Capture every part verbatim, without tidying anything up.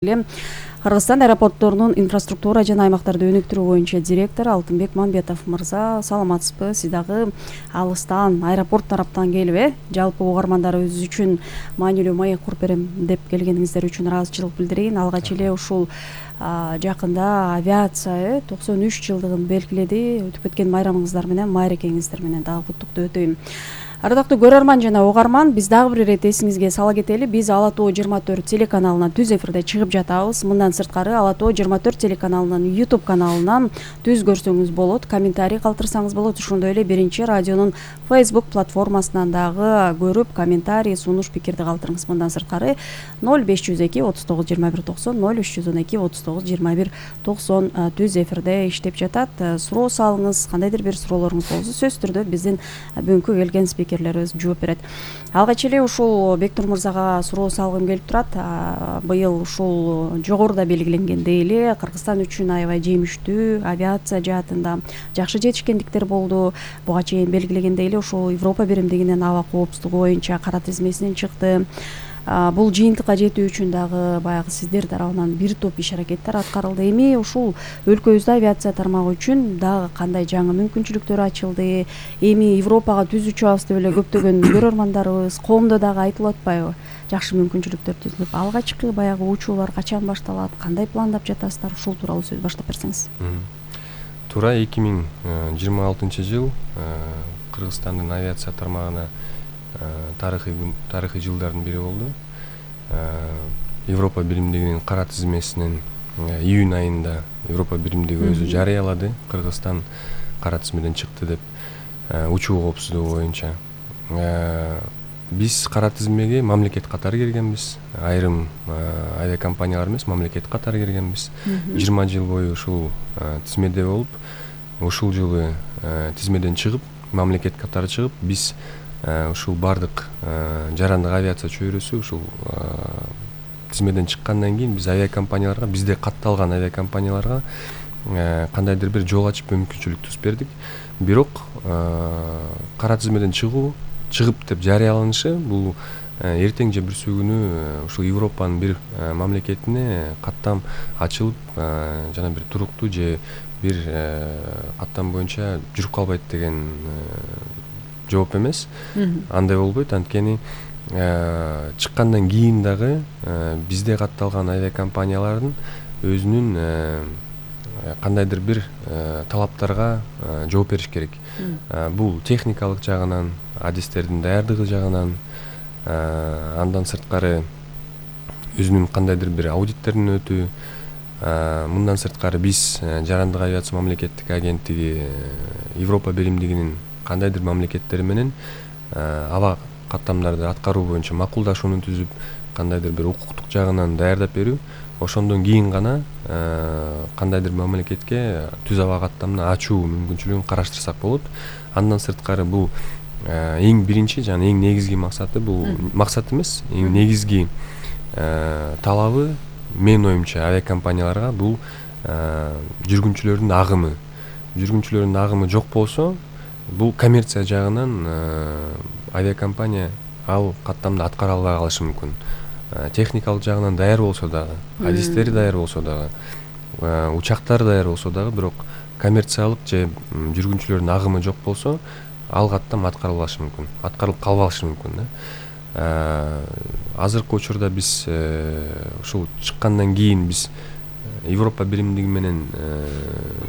Кыргызстан аэропортторунун инфраструктура жана аймактарды өнүктүрүү боюнча директору Алтынбек Мамбетов мырза, саламатсызбы? Сиз дагы алыстан аэропорт тараптан келип, э жалпы угармандарыбыз үчүн маанилүү маек куруп берем деп келгениңиздер үчүн ыраазычылык билдирейин. Алгач эле ушул жакында авиация э токсон үч жылдыгын белгиледи. Өтүп кеткен майрамыңыздар менен, майрекеңиздер менен дагы куттуктуу өтөйм. Ардактуу көрөрман жана угарман, биз дагы бир ирет эсиңизге сала кетели. Биз Ала Тоо жыйырма төрт телеканалынан түз эфирде чыгып жатабыз. Мындан сырткары Ала Тоо жыйырма төрт телеканалынын YouTube каналынан түз көрсөңүз болот, комментарий калтырсаңыз болот. Ошондой эле биринчи радионун Facebook платформасынан дагы көрүп, комментарий, сунуш, пикирди калтырыңыз. Мындан сырткары ноль беш жүз эки отуз тогуз жыйырма бир токсон, ноль үч жүз он эки отуз тогуз жыйырма бир токсон түз эфирде иштеп жатат. Суроо салыңыз, кандайдыр бир суроолоруңуз болсо сөзсүз түрдө биздин бүгүнкү келген спикерлерибиз жооп берет. Алгач эле ушул Бектур мырзага суроо салгым келип турат. Быйыл ушул жогоруда белгиленгендей эле Кыргызстан үчүн аябай жемиштүү авиация жаатында жакшы жетишкендиктер болду. Буга чейин белгилегендей эле ушул Европа биримдигинин аба коопсуздугу боюнча кара тизмесинен чыкты. Бул жыйынтыкка жетүү үчүн дагы баягы сиздер тарабынан бир топ иш аракеттер аткарылды. Эми ушул өлкөбүздө авиация тармагы үчүн дагы кандай жаңы мүмкүнчүлүктөр ачылды? Эми Европага түз учабыз деп эле көптөгөн көрөрмандарыбыз, коомдо дагы айтылып атпайбы? Жакшы мүмкүнчүлүктөр түзүлүп, алгачкы баягы учуулар качан башталат? Кандай пландап жатасыздар? Ушул тууралуу сөз баштап берсеңиз. Туура эки миң жыйырма алтынчы жыл Кыргызстандын авиация тармагына тарыхый тарыхый жылдардын бири болду. Европа биримдигинин кара тизмесинен июнь айында Европа биримдиги өзү жарыялады. Кыргызстан кара тизмеден чыкты деп, учуу коопсуздугу боюнча. Биз кара тизмеге мамлекет катары киргенбиз. Айрым авиакомпаниялар эмес, мамлекет катары киргенбиз. жыйырма жыл бою ушул тизмеде болуп, ушул жылы тизмеден чыгып, мамлекет катары чыгып, биз ушул бардык жарандык авиация чөйрөсү ушул тизмеден чыккандан кийин биз авиакомпанияларга, бизде катталган авиакомпанияларга кандайдыр бир жол ачып мүмкүнчүлүк түзүп бердик. Бирок кара тизмеден чыгуу, чыгып деп жарыяланышы бул эртең же бүрсү күнү ушул Европанын бир мамлекетине каттам ачылып, жана бир туруктуу же бир каттам боюнча жүрүп калбайт деген жооп эмес. Андай болбойт, анткени чыккандан кийин дагы бизде катталган авиакомпаниялардын өзүнүн кандайдыр бир талаптарга жооп бериш керек. Бул техникалык жагынан, адистердин даярдыгы жагынан, андан сырткары өзүнүн кандайдыр бир аудиттерин өтүү. Мындан сырткары биз жарандык авиация мамлекеттик агенттиги Европа биримдигинин кандайдыр мамлекеттери менен аба каттамдарды аткаруу боюнча макулдашууну түзүп, кандайдыр бир укуктук жагынан даярдап берүү. Ошондон кийин гана кандайдыр мамлекетке түз аба каттамын ачуу мүмкүнчүлүгүн караштырсак болот. Андан сырткары бул эң биринчи жана эң негизги максаты, бул максат эмес, эң негизги талабы менин оюмча авиакомпанияларга бул жүргүнчүлөрдүн агымы. Жүргүнчүлөрдүн агымы жок болсо, бул коммерция жагынан авиакомпания ал каттамды аткара албай калышы мүмкүн. Техникалык жагынан даяр болсо дагы, адистери даяр болсо дагы, учактары даяр болсо дагы, бирок коммерциялык же жүргүнчүлөрдүн агымы жок болсо, ал каттам аткарылбашы мүмкүн, аткарылып калбашы мүмкүн да. Азыркы учурда биз ушул чыккандан кийин биз Европа биримдиги менен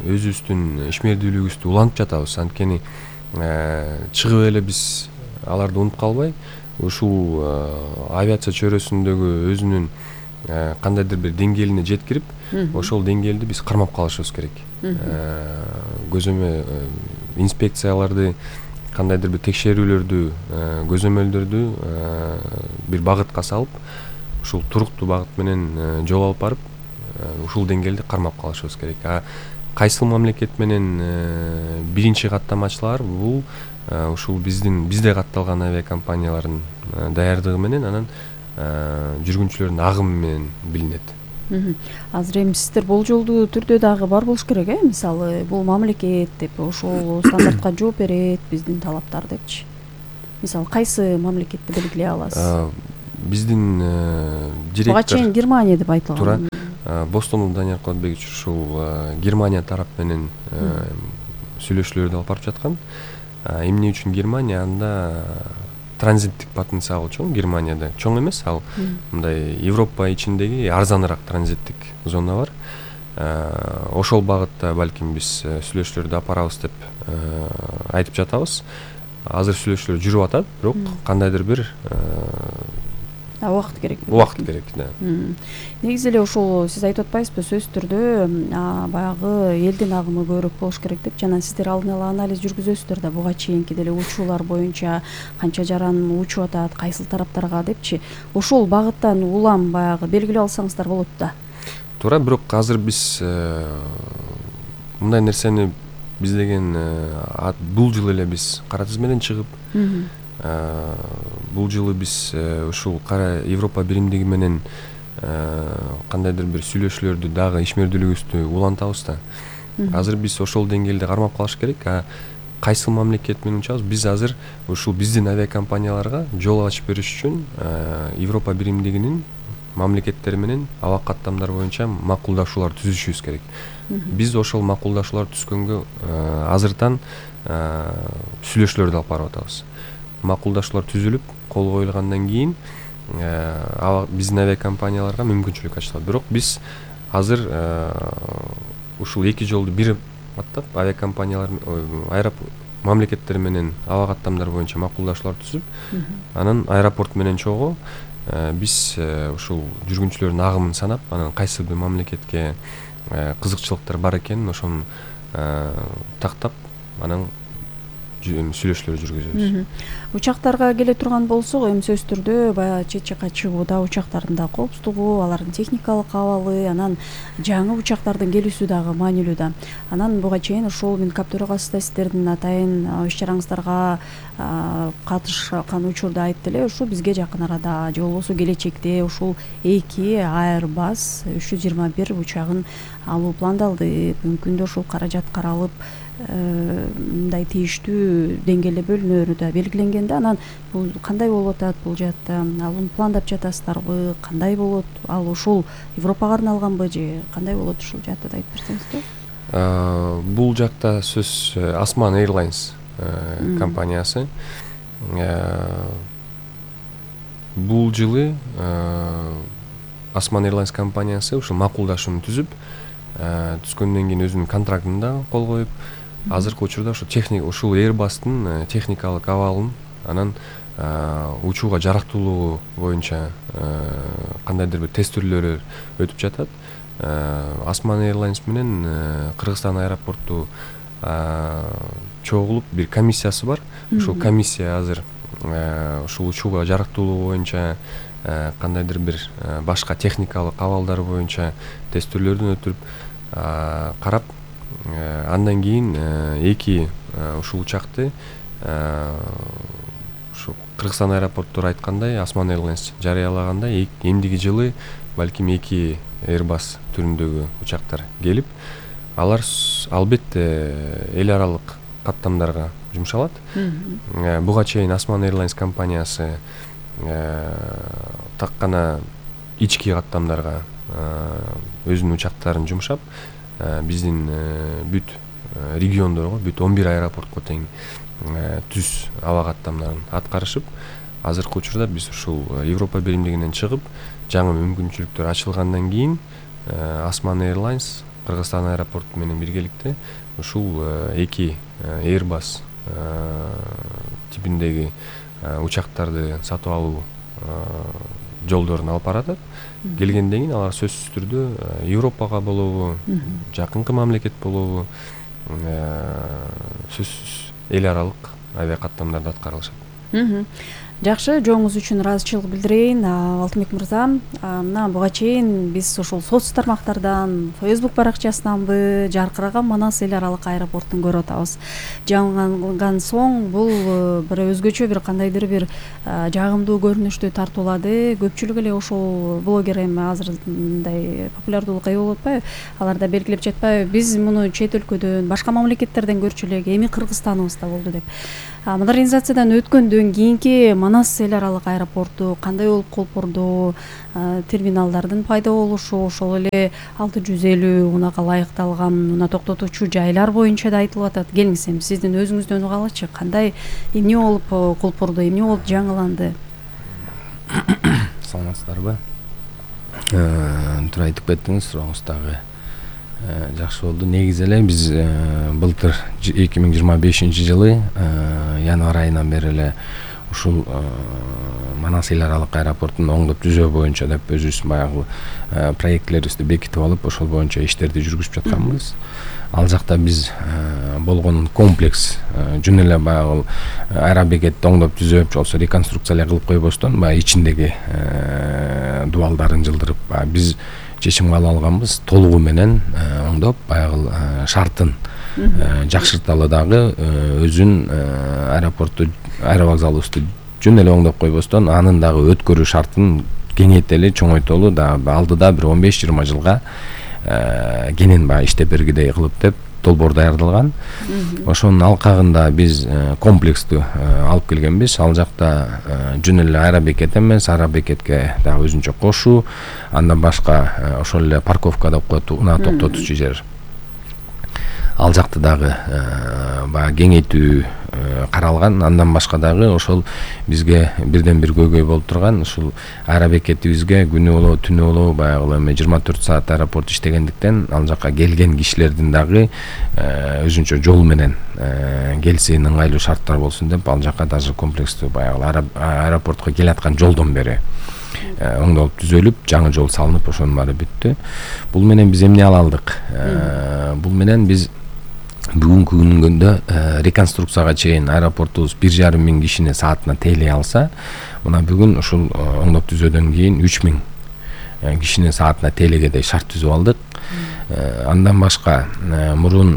өзүбүздүн ишмердүүлүгүбүздү улантып жатабыз. Анткени чыгып эле биз аларды унутуп калбай, ушул авиация чөйрөсүндөгү өзүнүн кандайдыр бир деңгээлине жеткирип, ошол деңгээлди биз кармап калышыбыз керек. Көзөмө инспекцияларды, кандайдыр бир текшерүүлөрдү, көзөмөлдөрдү бир багытка салып, ушул туруктуу багыт менен жол алып барып, ушул деңгээлди кармап калышыбыз керек. А кайсыл мамлекет менен биринчи каттамачылар бул ушул биздин бизде катталган авиакомпаниялардын даярдыгы менен, анан жүргүнчүлөрдүн агымы менен билинет. Азыр эми сиздер болжолдуу түрдө дагы бар болуш керек, э? Мисалы, бул мамлекет деп ошол стандартка жооп берет, биздин талаптар депчи. Мисалы, кайсы мамлекетти белгилей аласыз? биздин директор буга чейин Германия деп айтылган. Туура. Бостонов Данияр Кулатбекович ушул Германия тарап менен сүйлөшүүлөрдү алып барып жаткан. Эмне үчүн Германия? Анда транзиттик потенциалы чоң. Германияда чоң эмес, ал мындай Европа ичиндеги арзаныраак транзиттик зона бар. Ошол багытта балким биз сүйлөшүүлөрдү алып барабыз деп айтып жатабыз. Азыр сүйлөшүүлөр жүрүп атат, бирок кандайдыр бир убакыт керек. Убакыт керек, да. Негизи эле ушул сиз айтып атпайсызбы, сөзсүз түрдө баягы элдин агымы көбүрөөк болуш керек деп, жана сиздер алдын ала анализ жүргүзөсүздөр да, буга чейинки деле учуулар боюнча канча жаран учуп атат, кайсыл тараптарга депчи. Ушул багыттан улам баягы белгилеп алсаңыздар болот да. Туура, бирок азыр биз мындай нерсени биз деген бул жылы эле биз кара тизмеден чыгып, бул жылы биз ушул кара Европа биримдиги менен кандайдыр бир сүйлөшүүлөрдү дагы ишмердүүлүгүбүздү улантабыз да. Азыр биз ошол деңгээлде кармап калыш керек. А кайсыл мамлекет менен учабыз? Биз азыр ушул биздин авиакомпанияларга жол ачып бериш үчүн Европа биримдигинин мамлекеттери менен аба каттамдар боюнча макулдашуулар түзүшүбүз керек. Биз ошол макулдашуулар түзгөнгө азыртан сүйлөшүүлөрдү алып барып атабыз. Макулдашуулар түзүлүп, кол коюлгандан кийин биздин авиакомпанияларга мүмкүнчүлүк ачылат. Бирок биз азыр ушул эки жолду бир баттап авиакомпаниялар аэропорт мамлекеттер менен аба каттамдар боюнча макулдашуулар түзүп, анан аэропорт менен чогуу биз ушул жүргүнчүлөрдүн агымын санап, анан кайсы бир мамлекетке кызыкчылыктар бар экенин ошону тактап, анан сүйлөшүүлөр жүргүзөбүз. Учактарга келе турган болсок, эми сөзсүз түрдө баягы чет жакка чыгууда учактардын да коопсуздугу, алардын техникалык абалы, анан жаңы учактардын келүүсү дагы маанилүү да. Анан буга чейин ушул Минкап төрагасы да сиздердин атайын иш чараңыздарга катышкан учурда айтты эле, ушу бизге жакын арада же болбосо келечекте ушул эки Airbus үч жүз жыйырма бир учагын алуу пландалды. Мүмкүн да ушул каражат каралып мындай тийиштүү деңгээлде бөлүнөрү да белгиленген да. Анан бул кандай болуп атат бул жаатта? Аны пландап жатасыздарбы? Кандай болот? Ал ушул Европага арналганбы же кандай болот ушул жаатта да айтып берсеңизби? Бул жакта сөз Osman Airlines компаниясы. Бул жылы Osman Airlines компаниясы ушул макулдашууну түзүп, түзгөндөн кийин өзүнүн контрактын да кол коюп, азыркы учурда ушул техник ушул Airbus'тын техникалык абалын, анан учууга жарактуулугу боюнча кандайдыр бир тестөөлөр өтүп жатат. Osman Airlines менен Кыргызстан аэропорту чогулуп бир комиссиясы бар. Ушул комиссия азыр ушул учууга жарактуулугу боюнча кандайдыр бир башка техникалык абалдар боюнча тестөөлөрдөн өтүп карап, андан кийин эки ушул учакты ушу Кыргызстан аэропорттор айткандай, Osman Airlines жарыялагандай, эмдиги жылы балким эки Airbus түрүндөгү учактар келип, алар албетте эл аралык каттамдарга жумшалат. Буга чейин Osman Airlines компаниясы так гана ички каттамдарга өзүнүн учактарын жумшап, биздин бүт региондорго, бүт он бир аэропортко тең түз аба каттамдарын аткарышып, азыркы учурда биз ушул Европа биримдигинен чыгып, жаңы мүмкүнчүлүктөр ачылгандан кийин Osman Airlines Кыргызстан аэропорту менен биргеликте ушул эки Airbus типиндеги учактарды сатып алуу жолдорун алып баратат. Келгенден кийин алар сөзсүз түрдө Европага болобу, жакынкы мамлекет болобу, сөзсүз эл аралык авиакаттамдарды аткарылышат. Жакшы, жооңуз үчүн ыраазычылык билдирейин. Алтынбек мырза, мына буга чейин биз ушул соц тармактардан, Facebook баракчасынанбы жаркыраган Манас эл аралык аэропортун көрүп атабыз. Жаңылган соң бул бир өзгөчө бир кандайдыр бир жагымдуу көрүнүштү тартуулады. Көпчүлүк эле ошол блогер эми азыр мындай популярдуулукка ээ болуп атпайбы? Алар да белгилеп жатпайбы? Биз муну чет өлкөдөн, башка мамлекеттерден көрчү элек, эми Кыргызстаныбызда болду деп. Модернизациядан өткөндөн кийинки Манас эл аралык аэропорту кандай болуп колпорду, терминалдардын пайда болушу, ошол эле алты жүз элүү унага ылайыкталган уна токтотуучу жайлар боюнча да айтылып атат. Келиңиз эми сиздин өзүңүздөн угалычы, кандай эмне болуп колпорду, эмне болуп жаңыланды? Саламатсыздарбы? Туура айтып кеттиңиз, сурооңуз дагы жакшы болду. Негизи эле биз былтыр эки миң жыйырма бешинчи жылы январь айынан бери эле ушул Манас эл аралык аэропортун оңдоп түзөө боюнча деп өзүбүз баягы проектлерибизди бекитип алып, ошол боюнча иштерди жүргүзүп жатканбыз. Ал жакта биз болгон комплекс жөн эле баягы аэробекетти оңдоп түзөп, болсо реконструкция кылып койбостон, баягы ичиндеги дубалдарын жылдырып, биз чечим кабыл алганбыз, толугу менен оңдоп, баягы шартын жакшырталы дагы өзүн аэропортту, аэровокзалыбызды жөн эле оңдоп койбостон, анын дагы өткөрүү шартын кеңейтели, чоңойтолу, дагы алдыда бир он беш жыйырма жылга кенен баягы иштеп бергидей кылып деп долбоор даярдалган. Ошонун алкагында биз комплексту алып келгенбиз. Ал жакта жөн эле аэробекет эмес, аэробекетке дагы өзүнчө кошуу, андан башка ошол эле парковка деп коет, унаа токтотуучу жер. Ал жакта дагы баягы кеңейтүү каралган. Андан башка дагы ошол бизге бирден бир көйгөй болуп турган, ушул аэробекетибизге күнү болобу, түнү болобу баягы эми жыйырма төрт саат аэропорт иштегендиктен, ал жака келген кишилердин дагы өзүнчө жол менен келсин, ыңгайлуу шарттар болсун деп, ал жака даже комплекстүү баягы аэропортко келаткан жолдон бери оңдолуп түзөлүп, жаңы жол салынып, ошонун баары бүттү. Бул менен биз эмне ала алдык? Бул менен биз бүгүнкү күнгөндө реконструкцияга чейин аэропортубуз бир жарым миң кишини саатына тейлей алса, мына бүгүн ушул оңдоп түзөөдөн кийин үч миң кишини саатына тейлегедей шарт түзүп алдык. Андан башка мурун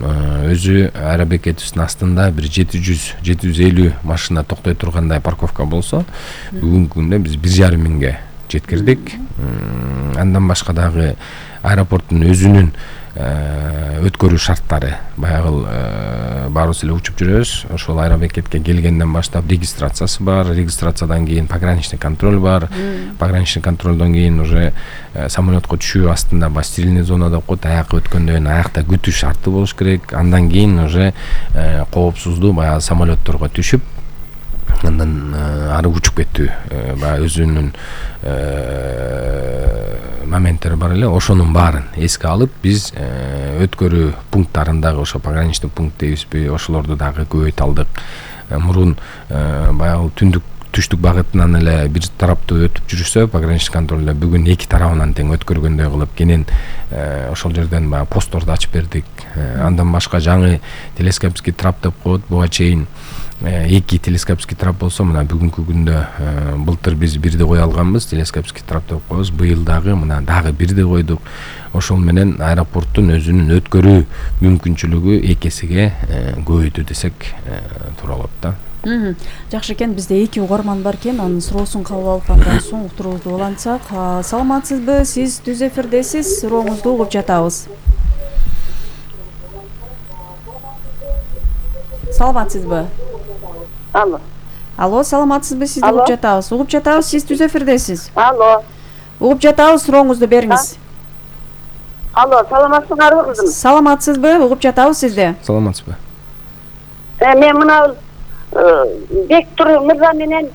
өзү аэробекетибиздин астында бир жети жүз жети жүз элүү машина токтой тургандай парковка болсо, бүгүнкү күндө биз бир жарым миңге жеткирдик. Андан башка дагы аэропорттун өзүнүн өткөрүү шарттары, баягы баарыбыз эле учуп жүрөбүз. Ошол аэробекетке келгенден баштап регистрациясы бар, регистрациядан кийин пограничный контроль бар, пограничный контролдон кийин уже самолетко түшүү астында ба стерильный зона деп коет, аякка өткөндөн кийин аякта күтүү шарты болуш керек. Андан кийин уже коопсуздуу баягы самолетторго түшүп, андан ары учуп кеттүү баягы өзүнүн моменттери бар эле. Ошонун баарын эске алып, биз өткөрүү пункттарындагы ошо пограничный пункт дейбизби, ошолорду дагы көбөйт алдык. Мурун баягы түндүк түштүк багытынан эле бир тараптуу өтүп жүрүшсө, пограничный контролдо бүгүн эки тарабынан тең өткөргөндөй кылып кенен ошол жерден баягы постторду ачып бердик. Андан башка жаңы телескопский трап деп коет, буга чейин эки телескопский трап болсо, мына бүгүнкү күндө былтыр биз бирди кое алганбыз, телескопский трап деп коебуз. Быйыл дагы мына дагы бирди койдук. Ошол менен аэропорттун өзүнүн өткөрүү мүмкүнчүлүгү эки эсеге көбөйдү десек туура болот да. Жакшы экен, бизде эки угарман бар экен, анын суроосун кабыл алып андан соң уктуруубузду улантсак. Саламатсызбы? Сиз түз эфирдесиз, сурооңузду угуп жатабыз. Саламатсызбы? Алло. Алло, саламатсызбы? Сизди угуп жатабыз. Угуп жатабыз, сиз түз эфирдесиз. Алло. Угуп жатабыз, сурооңузду бериңиз. Алло, саламатсыздарбы кызым? Саламатсызбы? Угуп жатабыз сизди. Саламатсызбы? Мен мына Бектур мырза менен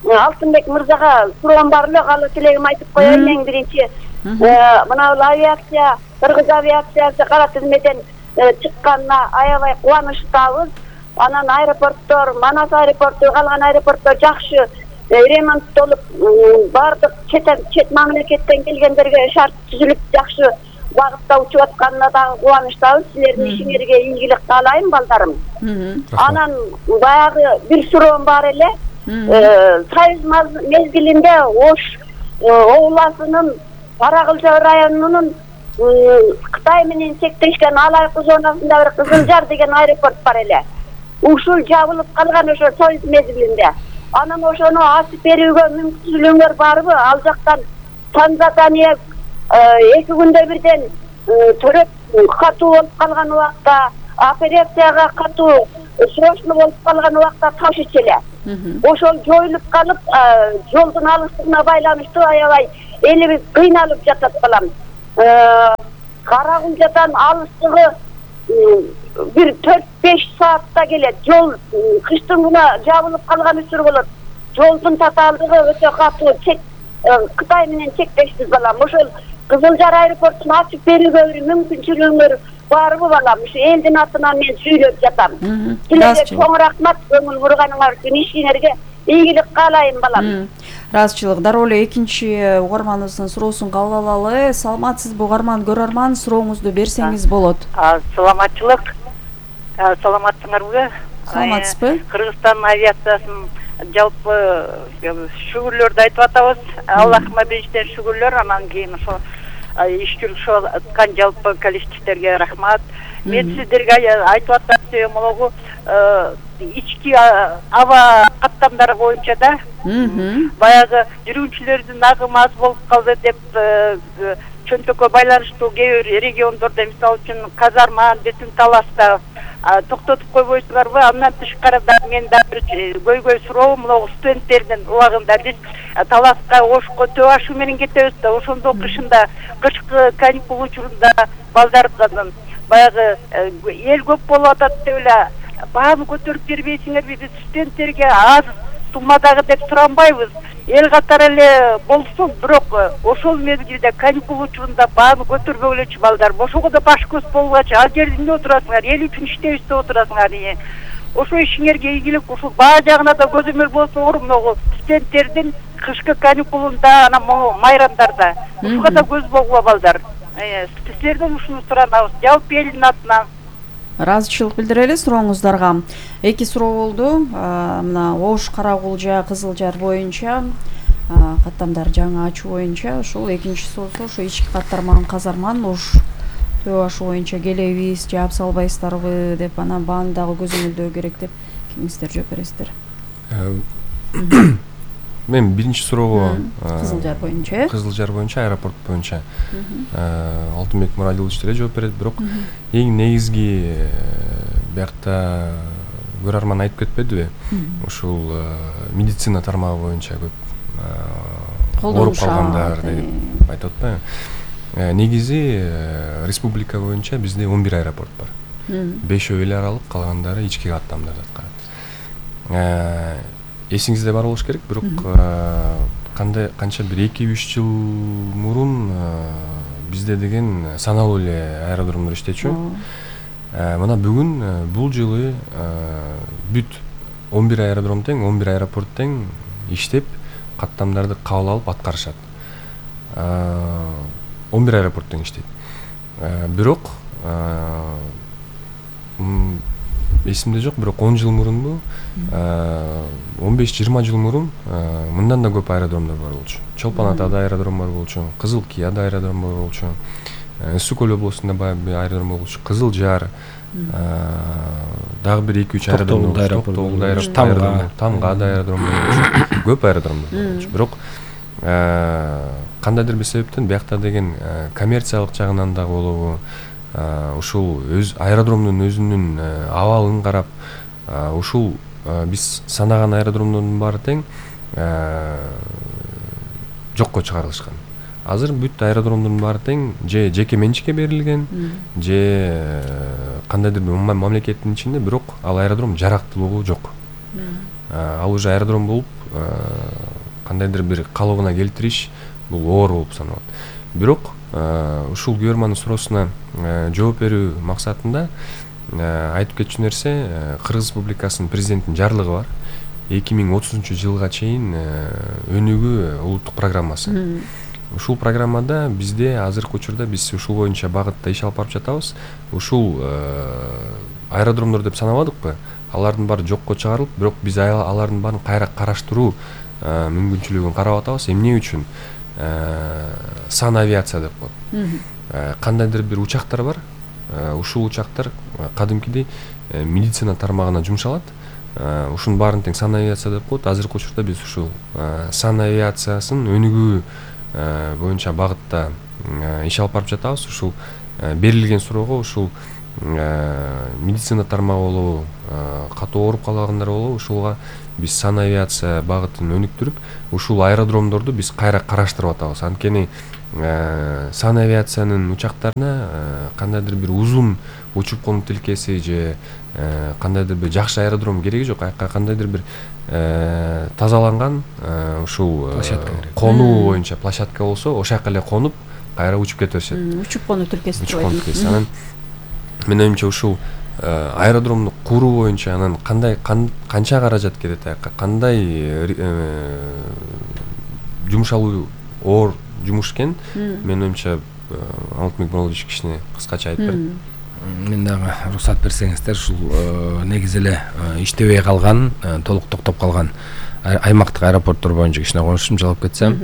Алтынбек мырзага суроом бар эле, кала тилегим айтып коеюн. Эң биринчи, мына авиация, Кыргыз авиациясы кара тизмеден чыкканына аябай кубанычтабыз. Анан аэропорттор, Манас аэропорту, калган аэропорттор жакшы ремонттолуп, бардык чет мамлекеттен келгендерге шарт түзүлүп, жакшы багытта учуп атканына дагы кубанычтабыз. Силердин ишиңерге ийгилик каалайм, балдарым. Анан баягы бир суроом бар эле. Союз мезгилинде Ош областынын Каракылча районунун Кытай менен чектешкен алайкы зонасында бир Кызыл Жар деген аэропорт бар эле. Ушул жабылып калган ошо Союз мезгилинде. Анан ошону ачып берүүгө мүмкүнчүлүгүңөр барбы? Ал жактан Танзания эки күндө бирден төрөп катуу болуп калган убакта, операцияга катуу срочно болуп калган убакта ташычу эле. ошол жоюлуп калып, жолдун алыстыгына байланыштуу аябай элибиз кыйналып жатат балам. Карагулжадан алыстыгы бир төрт беш саатта келет. Жол кыштын гана жабылып калган үчүр болот. Жолдун татаалдыгы өтө катуу, чек Кытай менен чектешпиз балам. Ошол Кызыл Жар аэропортун ачып берүүгө бир мүмкүнчүлүгүңөр барбы балам? Ушу элдин атынан мен сүйлөп жатам. Силерге чоң рахмат, көңүл бурганыңар үчүн, ишиңерге ийгилик каалайм балам. Ыраазычылык. Дароо эле экинчи угарманыбыздын суроосун кабыл алалы. Саламатсызбы угарман, көрөрман, сурооңузду берсеңиз болот. Саламатчылык. Саламатсыңарбы? Саламатсызбы? Кыргызстан авиациясын жалпы шүгүрлөрдү айтып атабыз. Аллахыма бештен шүгүрлөр, анан кийин ошо иш жүрүшүп аткан жалпы коллективдерге рахмат. Мен сиздерге айтып атам себебим могу ички аба каттамдары боюнча да баягы жүрүүчүлөрдүн агымы аз болуп калды деп чөнтөккө байланыштуу кээ бир региондордо, мисалы үчүн Казарман, Бүтүн Таласта токтотуп койбойсуңарбы? Андан тышкарыда мен да бир көйгөй суроом, могу студенттердин убагында биз Таласка, Ошко төө ашуу менен кетебиз да, ошондо кышында, кышкы каникул учурунда балдардын баягы эл көп болуп атат деп эле бааны көтөрүп бербейсиңерби? Биз студенттерге аз суммадагы деп суранбайбыз. Эл катары эле болсун, бирок ошол мезгилде каникул учурунда бааны көтөрбөгүлөчү балдар. Ошого да баш көз болгачы, ал жерде эмне отурасыңар? Эл үчүн иштейбиз деп отурасыңар. Ошо ишиңерге ийгилик, ушул баа жагына да көзөмөл болсоңор, могу студенттердин кышкы каникулунда, анан майрамдарда ушуга да көз болгула балдар. Силерден ушуну суранабыз, жалпы элдин атынан. Ыраазычылык билдирели сурооңуздарга. Эки суроо болду. Мына Ош, Карагулжа, Кызыл Жар боюнча каттамдар жаңы ачуу боюнча, ошол экинчи суроосу ошо ички каттарман Казарман, Ош төө ашуу боюнча келебиз, жаап салбайсыздарбы деп, анан бааны дагы көзөмөлдөө керек деп кимиңиздер жооп бересиздер? Мен биринчи суроого Кызыл Жар боюнча, Кызыл Жар боюнча, аэропорт боюнча Алтынбек Мурадилович деле жооп берет, бирок эң негизги биякта көрөрман айтып кетпедиби? Ушул медицина тармагы боюнча көп ооруп калгандар деп айтып атпайбы? Негизи республика боюнча бизде он бир аэропорт бар. Бешөө эл аралык, калгандары ички каттамдарды аткарат. Эсиңизде бар болуш керек, бирок кандай канча бир эки үч жыл мурун бизде деген саналуу эле аэродромдор иштечү. Мына бүгүн бул жылы бүт он бир аэродром тең, он бир аэропорт тең иштеп, каттамдарды кабыл алып аткарышат. он бир аэропорт тең иштейт. Бирок эсимде жок, бирок он жыл мурунбу, он беш жыйырма жыл мурун мындан да көп аэродромдор бар болчу. Чолпон Атада аэродром бар болчу, Кызыл Кияда аэродром бар болчу, Ысык Көл областында баягы аэродром болчу, Кызыл Жар, дагы бир эки үч аэродром болчу, Тамгада аэродром болчу, көп аэродромдор болчу. Бирок кандайдыр бир себептен биякта деген коммерциялык жагынан да болобу, ушул өз аэродромдун өзүнүн абалын карап, ушул биз санаган аэродромдордун баары тең жокко чыгарылышкан. Азыр бүт аэродромдордун баары тең же жеке менчикке берилген, же кандайдыр бир мамлекеттин ичинде, бирок ал аэродром жарактуулугу жок. Ал уже аэродром болуп кандайдыр бир калыбына келтириш бул оор болуп саналат. Бирок ушул көрөрмандын суроосуна жооп берүү максатында айтып кетчү нерсе, Кыргыз Республикасынын президентинин жарлыгы бар. эки миң отузунчу жылга чейин өнүгүү улуттук программасы. Ушул программада бизде азыркы учурда биз ушул боюнча багытта иш алып барып жатабыз. Ушул аэродромдор деп санабадыкпы? Алардын баары жокко чыгарылып, бирок биз алардын баарын кайра караштыруу мүмкүнчүлүгүн карап атабыз. Эмне үчүн? Сан авиация деп коет. Кандайдыр бир учактар бар. Ушул учактар кадимкидей медицина тармагына жумшалат. Ушунун баарын тең сан авиация деп коет. Азыркы учурда биз ушул сан авиациясын өнүгүү боюнча багытта иш алып барып жатабыз. Ушул берилген суроого ушул медицина тармагы болобу, катуу ооруп калгандар болобу, ушулга биз санавиация багытын өнүктүрүп, ушул аэродромдорду биз кайра караштырып атабыз. Анткени санавиациянын учактарына кандайдыр бир узун учуп конуу тилкеси же кандайдыр бир жакшы аэродром кереги жок. Аяка кандайдыр бир тазаланган ушул конуу боюнча площадка болсо, ошол жака эле конуп кайра учуп кете беришет. Учуп конуу тилкеси. Учуп конуу тилкеси. Анан менин оюмча ушул аэродромду куруу боюнча анан кандай канча каражат кетет, аяка кандай жумшалуу оор жумуш экен, менин оюмча Алтынбек Муралбекович кичине кыскача айтып берет. Мен дагы уруксат берсеңиздер, ушул негизи эле иштебей калган, толук токтоп калган аймактык аэропорттор боюнча кичине конuştum, жалап кетсем.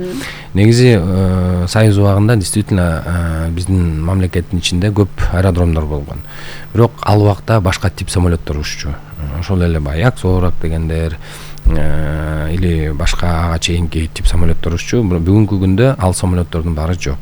Негизи Союз убагында действительно биздин мамлекеттин ичинде көп аэродромдор болгон. Бирок ал убакта башка тип самолеттор уччу. Ошол эле баягы Аксоорак дегендер или башка ага чейинки тип самолеттор уччу. Бүгүнкү күндө ал самолеттордун баары жок.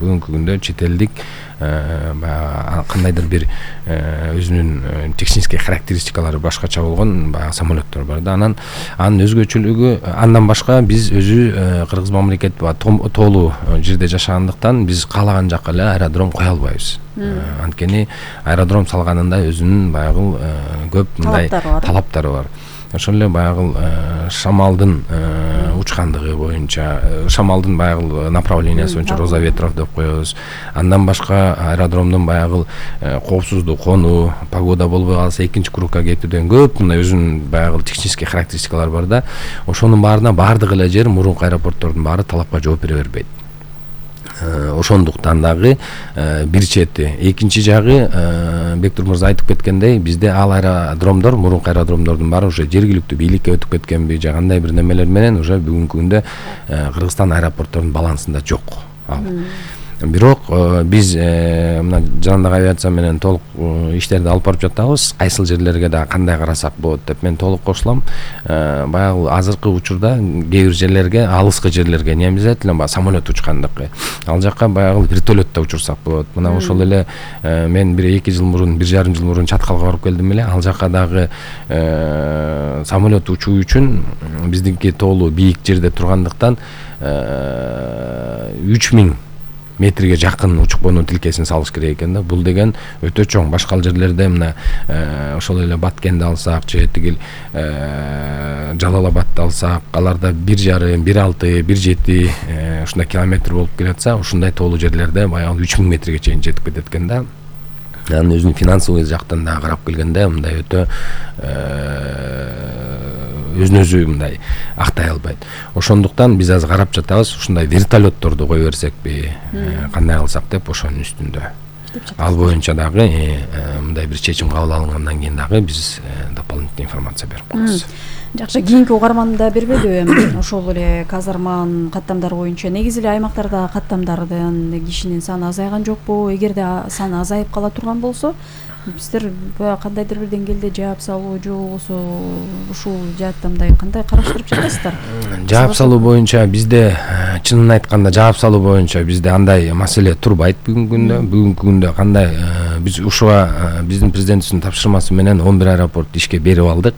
Бүгүнкү күндө чет элдик баягы кандайдыр бир өзүнүн технический характеристикалары башкача болгон баягы самолеттор бар да. Анан анын өзгөчөлүгү, андан башка биз өзү кыргыз мамлекет тоолуу жерде жашагандыктан биз каалаган жака эле аэродром кое албайбыз. Анткени аэродром салганында өзүнүн баягы көп мындай талаптары бар. Ошол эле баягы шамалдын учкандыгы боюнча, шамалдын баягы направлениясы боюнча роза ветров деп коебуз. Андан башка аэродромдун баягы коопсуздук конуу, погода болбой калса экинчи кругка кетүүдөн көп мындай өзүнүн баягы технический характеристикалары бар да. Ошонун баарына баардык эле жер мурунку аэропорттордун баары талапка жооп бере бербейт. Ошондуктан дагы бир чети, экинчи жагы Бектур мырза айтып кеткендей, бизде ал аэродромдор, мурунку аэродромдордун баары уже жергиликтүү бийликке өтүп кеткенби, же кандай бир немелер менен уже бүгүнкү күндө Кыргызстан аэропортторунун балансында жок ал. Бирок биз мына жандык авиация менен толук иштерди алып барып жатабыз. Кайсыл жерлерге да кандай карасак болот деп мен толук кошулам. Баягы азыркы учурда кээ бир жерлерге, алыскы жерлерге немиз айтат эле самолет учкандыкы. Ал жакка баягы вертолетто учурсак болот. Мына ошол эле мен бир эки жыл мурун, бир жарым жыл мурун Чаткалга барып келдим эле. Ал жакка дагы самолет учуу үчүн биздики тоолуу бийик жерде тургандыктан үч миң метрге жакын учуп конуу тилкесин салыш керек экен да. Бул деген өтө чоң. Башка жерлерде мына ошол эле Баткенди алсак, же тигил Жалал-Абадты алсак, аларда бир жарым, бир алты, бир жети ушундай километр болуп келатса, ушундай тоолуу жерлерде баягы үч миң метрге чейин жетип кетет экен да. Анын өзүнүн финансовый жактан да карап келгенде мындай өтө өзүн өзү мындай актай албайт. Ошондуктан биз азыр карап жатабыз, ушундай вертолетторду кое берсекпи, кандай кылсак деп ошонун үстүндө. Ал боюнча дагы мындай бир чечим кабыл алынгандан кийин дагы биз дополнительный информация берип коебуз. Жакшы, кийинки угарманда бербедиби? Ошол эле казарманын каттамдары боюнча негизи эле аймактарда каттамдардын кишинин саны азайган жокпу? Эгерде саны азайып кала турган болсо, сиздер кандайдыр бир деңгээлде жаап салуу же болбосо ушул жааттамдай кандай караштырып жатасыздар? Жаап салуу боюнча бизде, чынын айтканда, жаап салуу боюнча бизде андай маселе турбайт бүгүнкү күндө. Бүгүнкү күндө кандай биз ушуга биздин президентибиздин тапшырмасы менен он бир аэропорт ишке берип алдык.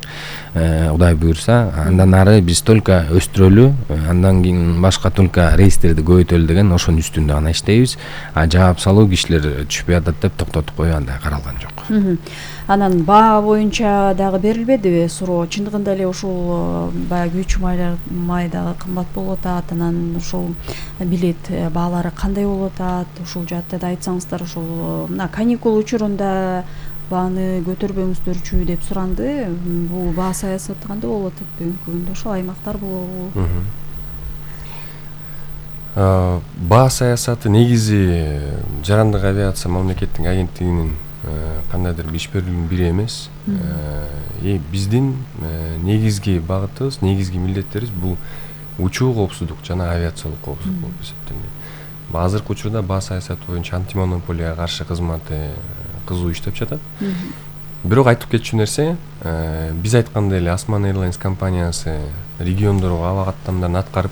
Кудай буйрса, андан ары биз только өстүрөлү, андан кийин башка только рейстерди көбөйтөлү деген ошонун үстүндө гана иштейбиз. А жаап салуу кишилер түшпөй атат деп токтотуп коюу андай каралган жок. Анан баа боюнча дагы берилбедиби суроо? Чындыгында эле ушул баягы үч май дагы кымбат болуп атат. Анан ушул билет баалары кандай болуп атат? Ушул жаатта да айтсаңыздар, ушул мына каникул учурунда бааны көтөрбөңүздөрчү деп суранды. Бул баа саясаты кандай болуп атат бүгүнкү күндө? Ошол аймактар болобу? Баа саясаты негизи жарандык авиация мамлекеттин агенттигинин кандайдыр иш берүүнүн бири эмес. Э биздин негизги багытыбыз, негизги милдеттерибиз бул учуу коопсуздук жана авиациялык коопсуздук болуп эсептелет. Азыркы учурда баа саясаты боюнча антимонополияга каршы кызматы кызуу иштеп жатат. Бирок айтып кетчү нерсе, биз айткандай эле Osman Airlines компаниясы региондорго аба каттамдарын аткарып,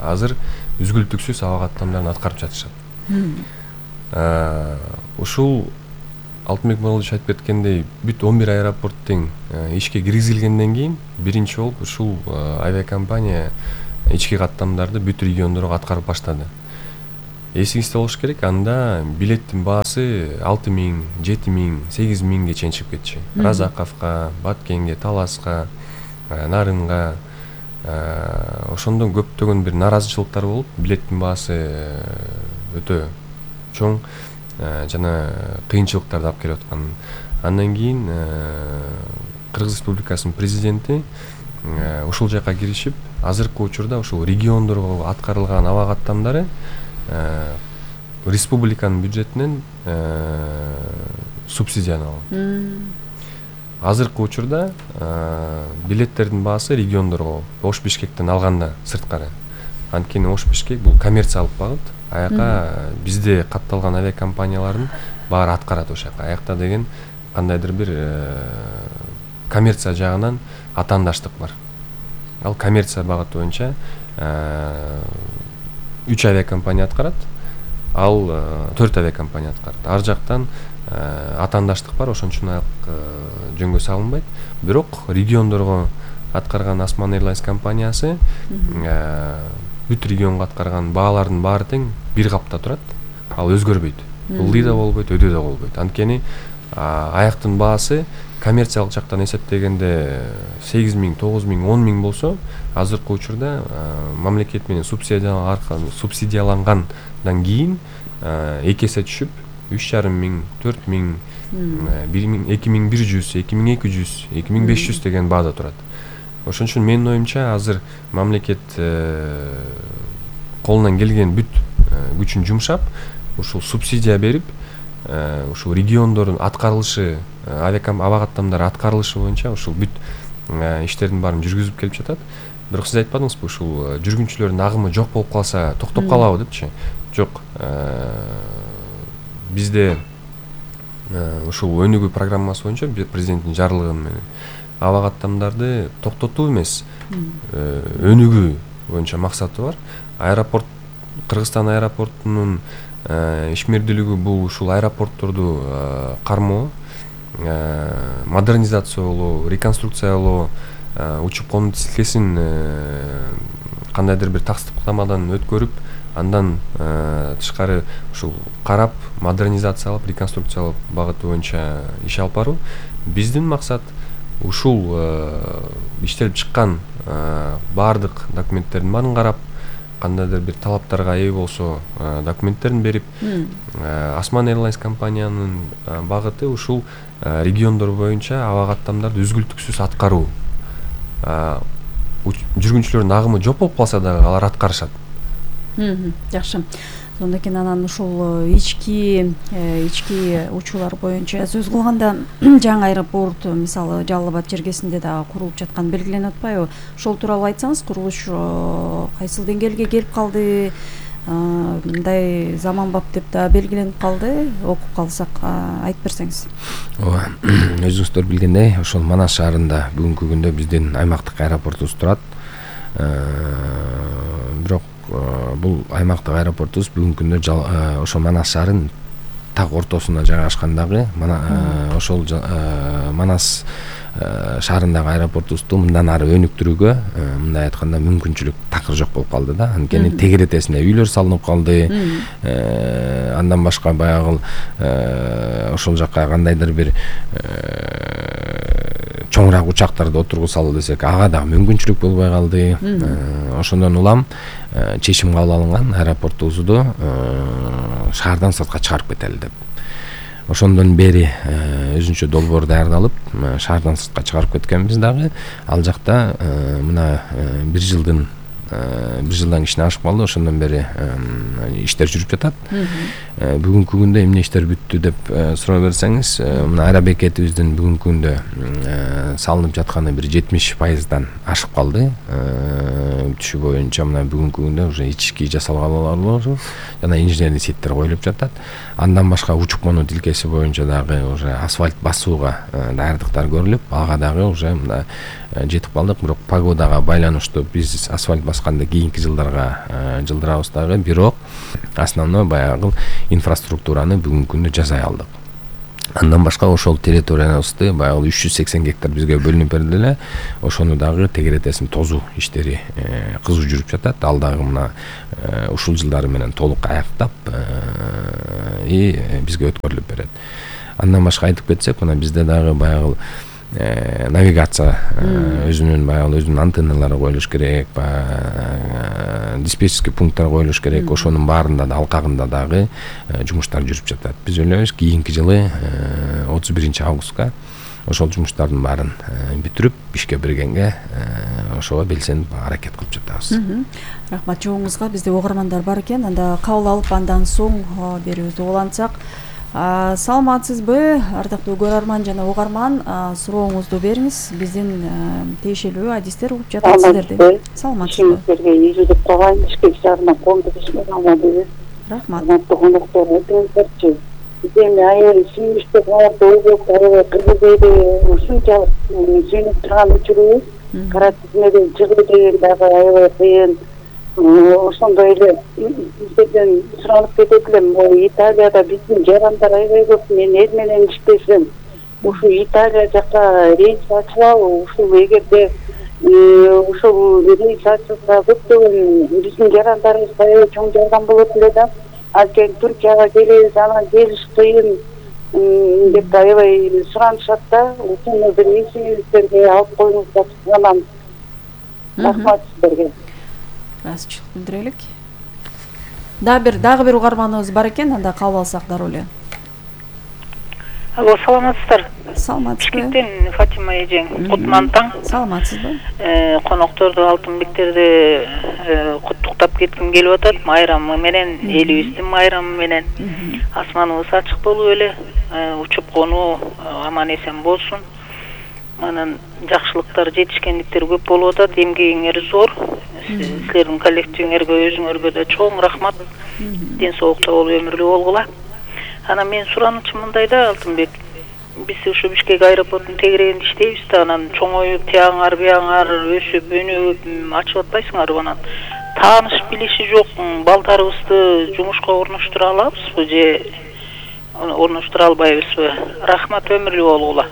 азыр үзгүлтүксүз аба каттамдарын аткарып жатышат. Ушул Алтынбек Муралович айтып кеткендей, бүт он бир аэропорт тең ишке киргизилгенден кийин биринчи болуп ушул авиакомпания ички каттамдарды бүт региондорго аткарып баштады. Эсиңизде болуш керек, анда билеттин баасы алты миң, жети миң, сегиз миңге чейин чыгып кетчү. Разаковго, Баткенге, Таласка, Нарынга, ошондон көптөгөн бир наразычылыктар болуп, билеттин баасы өтө чоң жана кыйынчылыктарды алып келип аткан. Андан кийин Кыргыз Республикасынын президенти ушул жака киришип, азыркы учурда ушул региондорго аткарылган аба каттамдары республиканын бюджетинен субсидияланат. Азыркы учурда билеттердин баасы региондорго Ош Бишкектен алганда сырткары. Анткени Ош Бишкек бул коммерциялык багыт. Аяка бизде катталган авиакомпаниялардын баары аткарат ошол жака. Аякта деген кандайдыр бир коммерция жагынан атаандаштык бар. Ал коммерция багыты боюнча үч авиакомпания аткарат, ал төрт авиакомпания аткарат. Ар жактан атаандаштык бар, ошон үчүн ак жөнгө салынбайт. Бирок региондорго аткарган Осман Airlines компаниясы бүт регионго аткарган баалардын баары тең бир капта турат. Ал өзгөрбөйт. Ылдый да болбойт, өдө да болбойт. Анткени аяктын баасы коммерциялык жактан эсептегенде сегиз миң, тогуз миң, он миң болсо, азыркы учурда мамлекет менен субсидиялангандан кийин эки эсе түшүп, үч жарым миң, төрт миң, эки миң бир жүз, эки миң эки жүз, эки миң беш жүз деген баада турат. Ошон үчүн менин оюмча азыр мамлекет колунан келген бүт күчүн жумшап, ушул субсидия берип, ушул региондордун аткарылышы, аба каттамдары аткарылышы боюнча ушул бүт иштердин баарын жүргүзүп келип жатат. Бирок сиз айтпадыңызбы, ушул жүргүнчүлөрдүн агымы жок болуп калса токтоп калабы депчи? Жок. Бизде ушул өнүгүү программасы боюнча президенттин жарлыгы менен аба каттамдарды токтотуу эмес, өнүгүү боюнча максаты бар. Аэропорт, Кыргызстан аэропортунун ишмердүүлүгү бул ушул аэропортторду кармоо, модернизациялоо, реконструкциялоо, учуп конуу тизилкесин кандайдыр бир таксыктамадан өткөрүп, андан тышкары ушул карап, модернизациялап, реконструкциялап багыты боюнча иш алып баруу. Биздин максат ушул иштелип чыккан баардык документтердин баарын карап, кандайдыр бир талаптарга ээ болсо документтерин берип, Осман Airlines компаниянын багыты ушул региондор боюнча аба каттамдарды үзгүлтүксүз аткаруу. Жүргүнчүлөрдүн агымы жок болуп калса дагы алар аткарышат. Жакшы. Сондан кийин анан ушул ички ички учуулар боюнча сөз кылганда жаңы аэропорт мисалы Жалал Абад жергесинде да курулуп жатканы белгиленип атпайбы? Ошол тууралуу айтсаңыз, курулуш кайсыл деңгээлге келип калды? Мындай заманбап деп да белгиленип калды. Окуп калсак айтып берсеңиз. Ооба, өзүңүздөр билгендей, ошол Манас шаарында бүгүнкү күндө биздин аймактык аэропортубуз турат. Бирок бул аймактык аэропортубуз бүгүнкү күндө ошол Манас шаарынын так ортосунда жайгашкандагы ошол Манас шаарындагы аэропортубузду мындан ары өнүктүрүүгө, мындай айтканда, мүмкүнчүлүк такыр жок болуп калды да. Анткени тегеретесине үйлөр салынып калды. Андан башка баягы ошол жакка кандайдыр бир чоңураак учактарды отургузалы десек, ага дагы мүмкүнчүлүк болбой калды. Ошондон улам чечим кабыл алынган аэропортубузду шаардан сыртка чыгарып кетели деп. Ошондон бери өзүнчө долбоор даярдалып, шаардан сыртка чыгарып кеткенбиз дагы. Ал жакта мына бир жылдын бир жылдан кичине ашып калды. Ошондон бери иштер жүрүп жатат. Бүгүнкү күндө эмне иштер бүттү деп суроо берсеңиз, мына аэробекетибиздин бүгүнкү күндө салынып жатканы бир жетимиш пайыздан ашып калды. Түшү боюнча мына бүгүнкү күндө уже ички жасалгалар жана инженерный сеттер коюлуп жатат. Андан башка учуп конуу тилкеси боюнча дагы уже асфальт басууга даярдыктар көрүлүп, ага дагы уже мына жетип калдык. Бирок погодага байланыштуу биз асфальт басканда кийинки жылдарга жылдырабыз дагы. Бирок основной баягы инфраструктураны бүгүнкү күндө жасай алдык. Андан башка ошол территориябызды баягы үч жүз сексен гектар бизге бөлүнүп берилди эле. Ошону дагы тегеретесин тозуу иштери кызуу жүрүп жатат. Ал дагы мына ушул жылдары менен толук аяктап и бизге өткөрүлүп берет. Андан башка айтып кетсек, мына бизде дагы баягы навигация өзүнүн баягы өзүнүн антенналары коюлуш керек, диспетчерский пункттар коюлуш керек. Ошонун баарында да алкагында дагы жумуштар жүрүп жатат. Биз ойлойбуз кийинки жылы отуз биринчи августка ошол жумуштардын баарын бүтүрүп ишке киргенге ошого белсенип аракет кылып жатабыз. Рахмат жоңузга. Бизде угармандар бар экен. Анда кабыл алып андан соң берүүбүздү улантсак. Саламатсызбы, ардактуу көрөрман жана угарман, сурооңузду бериңиз. Биздин тиешелүү адистер угуп жатат сиздерди. Саламатсызбы. Сиздерге ийгилик кылайын, Бишкек шаарынан коомдук ишмер Амадыбек. Рахмат. Коноктор айтыңыздарчы. Эми аябай сүйүнүчтүү кабарды ойлоп, аябай кыргызды ушунчалык сүйүнүп турган учурубуз. Кара тизмеден чыгуу деген дагы аябай кыйын. Ошондой эле сиздерден суранып кетет элем, могу Италияда биздин жарандар аябай көп. Мен эл менен иштесем, ушул Италия жака рейс ачылабы? Ушул эгерде ушул рейс ачылса көптөгөн биздин жарандарыбыз аябай чоң жардам болот эле да. Анткени Туркияга келебиз, анан келиш кыйын деп аябай суранышат да. Ушуну бир эсиңиздерге алып коюңуздар анан. Рахмат сиздерге. Ыраазычылык билдирелик. Дагы бир дагы бир угарманыбыз бар экен, анда кабыл алсак дароо эле. Алло, саламатсыздар. Саламатсызбы. Бишкектен Фатима эжең, кутман таң. Саламатсызбы. Конокторду, Алтынбектерди куттуктап кетким келип атат. Майрамы менен, элибиздин майрамы менен. Асманыбыз ачык болуп эле, учуп конуу аман эсен болсун. Анан жакшылыктар, жетишкендиктер көп болуп атат, эмгегиңер зор. Силердин коллективиңерге, өзүңөргө да чоң рахмат. Ден соолукта болуп, өмүрлүү болгула. Анан мен суранычым мындайда, Алтынбек. Биз ушу Бишкек аэропортунун тегерегинде иштейбиз да, анан чоңоюп, тияңар, бияңар өсүп, өнүгүп, ачып атпайсыңарбы анан? Тааныш билиши жок балдарыбызды жумушка орноштура алабызбы же орноштура албайбызбы? Рахмат, өмүрлүү болгула.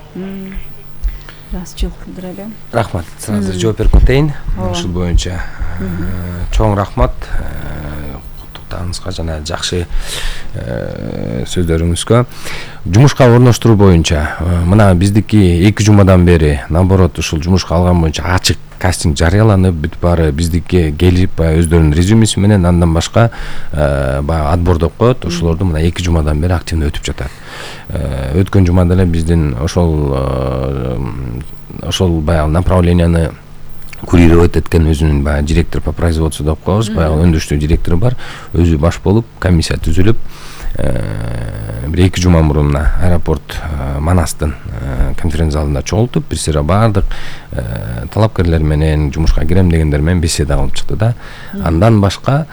Ыраазычылык билдирели. Рахмат. Азыр жооп берип кетейин. Ушул боюнча чоң рахмат куттуктарыңызга жана жакшы сөздөрүңүзгө. Жумушка орноштуруу боюнча мына биздики эки жумадан бери наоборот ушул жумушка алган боюнча ачык кастинг жарыяланып, бүт баары биздикке келип, баягы өздөрүнүн резюмеси менен андан башка баягы отбор деп коет. Ошолорду мына эки жумадан бери активно өтүп жатат. Өткөн жумада эле биздин ошол ошол баягы направленияны курировать эткен өзүнүн баягы директор по производству деп коебуз, баягы өндүрүштүү директору бар. Өзү баш болуп, комиссия түзүлүп, бир эки жума мурун аэропорт Манастын конференция залында чогултуп, бир сыйра баардык талапкерлер менен, жумушка кирем дегендер менен беседа кылып чыкты да. Андан башка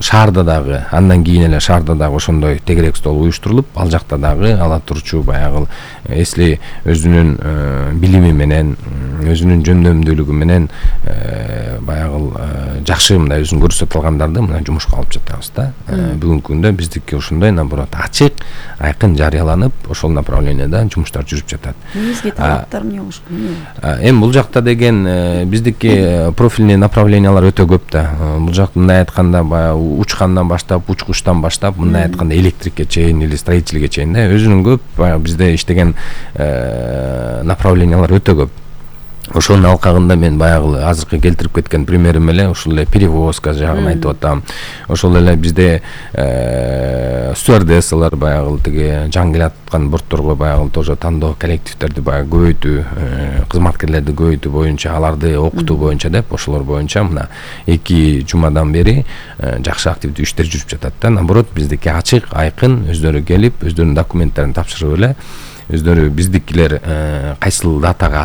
шаарда дагы, андан кийин эле шаарда дагы ошондой тегерек стол уюштурулуп, ал жакта дагы ала турчу баягы эсли өзүнүн билими менен, өзүнүн жөндөмдүүлүгү менен баягы жакшы мындай өзүн көрсөтө алгандарды мына жумушка алып жатабыз да. Бүгүнкү күндө биздики ушундай наоборот ачык, айкын жарыяланып, ошол направленияда жумуштар жүрүп жатат. Негизги талаптар эмне болуш керек? Эми бул жакта деген биздики профильный направлениялар өтө көп да. Бул жакта мындай айтканда баягы учкандан баштап, учкучтан баштап, мындай айтканда электрикке чейин или строительге чейин да өзүнүн көп баягы бизде иштеген направлениялар өтө көп. Ошонун алкагында мен баягы азыркы келтирип кеткен примерим эле ушул эле перевозка жагын айтып атам. Ошол эле бизде стюардессалар баягы тиги жаңы келаткан бортторго баягы тоже тандоо коллективдерди баягы көбөйтүү, кызматкерлерди көбөйтүү боюнча, аларды окутуу боюнча деп ошолор боюнча мына эки жумадан бери жакшы активдүү иштер жүрүп жатат да. Наоборот, биздики ачык, айкын, өздөрү келип, өздөрүнүн документтерин тапшырып эле өздөрү биздикилер кайсыл датага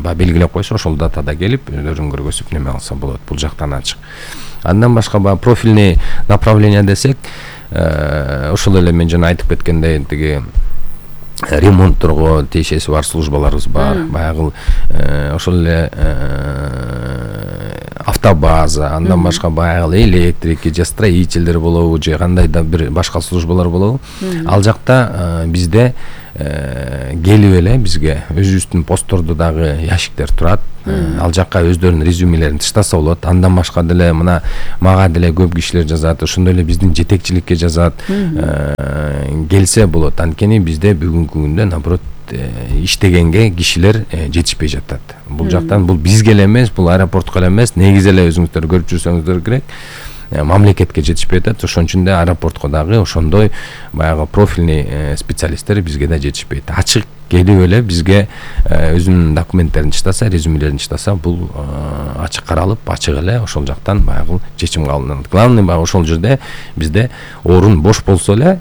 баягы белгилеп койсо, ошол датада келип өздөрүн көргөзүп неме алса болот. Бул жактан ачык. Андан башка баягы профильный направление десек, ошол эле мен жана айтып кеткендей тиги ремонтторго тиешеси бар службаларыбыз бар. Баягы ошол эле автобаза, андан башка баягы электрики же строительдер болобу же кандай да бир башка службалар болобу. Ал жакта бизде келип эле бизге өзүбүздүн посттордо дагы ящиктер турат. Ал жакка өздөрүнүн резюмелерин тыштаса болот. Андан башка деле мына мага деле көп кишилер жазат, ошондой эле биздин жетекчиликке жазат. Келсе болот. Анткени бизде бүгүнкү күндө наоборот иштегенге кишилер жетишпей жатат. Бул жактан бул бизге эле эмес, бул аэропортко эле эмес, негизи эле өзүңүздөр көрүп жүрсөңүздөр керек. Мамлекетке жетишпей атат, ошон үчүн да аэропортко дагы ошондой баягы профильный специалисттер бизге да жетишпейт. Ачык келип эле бизге өзүнүн документтерин чыктаса, резюмелерин чыктаса, бул ачык каралып, ачык эле ошол жактан баягы чечим кабылданат. Главный баягы ошол жерде бизде орун бош болсо эле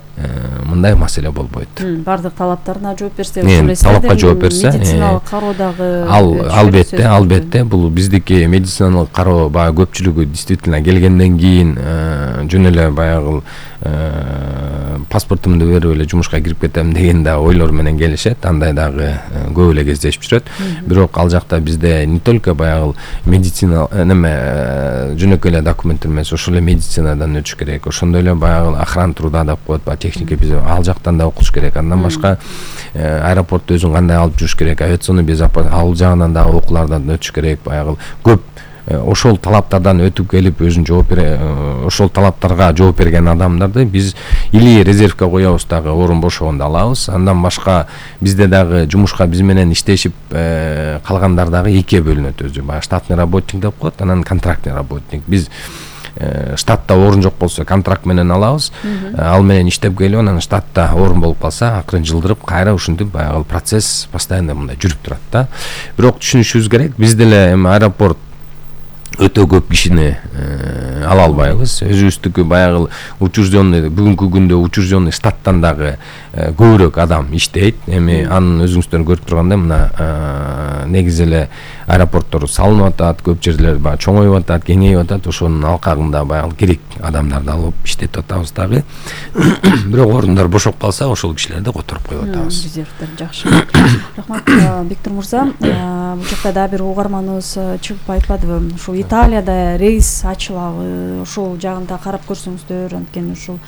мындай маселе болбойт. Бардык талаптарына жооп берсе, ошол эле талапка жооп берсе, медициналык кароо дагы ал албетте, албетте бул биздики медициналык кароо баягы көпчүлүгү действительно келгенден кийин жөн эле баягы паспортумду берип эле жумушка кирип кетем деген да ойлор менен келишет. Андай дагы көп эле кездешип жүрөт. Бирок ал жакта бизде не только баягы медицина неме жөнөкөй эле документтер эмес, ошол эле медицинадан өтүш керек. Ошондой эле баягы охрана труда деп коет, баягы техника биз ал жактан да окуш керек. Андан башка аэропортто өзүн кандай алып жүрүш керек, авиационный безопасность ал жагынан дагы окуулардан өтүш керек. Баягы көп ошол талаптардан өтүп келип өзүн жооп бере ошол талаптарга жооп берген адамдарды биз или резервке коебуз, дагы орун бошогондо алабыз. Андан башка бизде дагы жумушка биз менен иштешип калгандар дагы экиге бөлүнөт. Өзү баягы штатный работник деп коет, анан контрактный работник. Биз штатта орун жок болсо контракт менен алабыз, ал менен иштеп келип анан штатта орун болуп калса акырын жылдырып кайра ушинтип баягы процесс постоянно мындай жүрүп турат да. Бирок түшүнүшүбүз керек, биз деле эми аэропорт өтө көп кишини ала албайбыз. Өзүбүздүкү баягы учрежденный бүгүнкү күндө учрежденный штаттан дагы көбүрөөк адам иштейт. Эми анын өзүңүздөр көрүп тургандай мына негизи эле аэропорттор салынып атат, көп жерлер баягы чоңоюп атат, кеңейип атат. Ошонун алкагында баягы керек адамдарды алып иштетип атабыз дагы. Бирок орундар бошоп калса, ошол кишилерди которуп коюп атабыз. Резервдер жакшы. Рахмат, Бектур мырза. Бул жакта дагы бир угарманыбыз чыгып айтпадыбы? Ушул Италияда рейс ачылабы, ошол жагында карап көрсөңүздөр, анткени ушул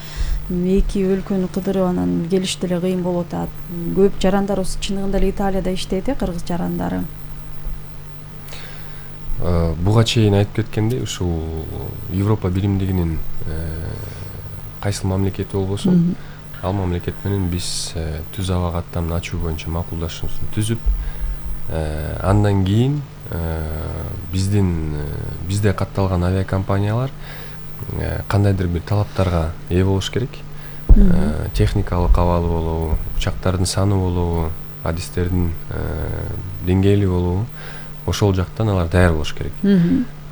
эки өлкөнү кыдырып анан келиш деле кыйын болуп атат. Көп жарандарыбыз чындыгында эле Италияда иштейт, кыргыз жарандары. Буга чейин айтып кеткендей, ушул Европа биримдигинин кайсыл мамлекети болбосун, ал мамлекет менен биз түз аба каттамын ачуу боюнча макулдашуусун түзүп, андан кийин биздин бизде катталган авиакомпаниялар кандайдыр бир талаптарга ээ болуш керек. Техникалык абалы болобу, учактардын саны болобу, адистердин деңгээли болобу, ошол жактан алар даяр болуш керек.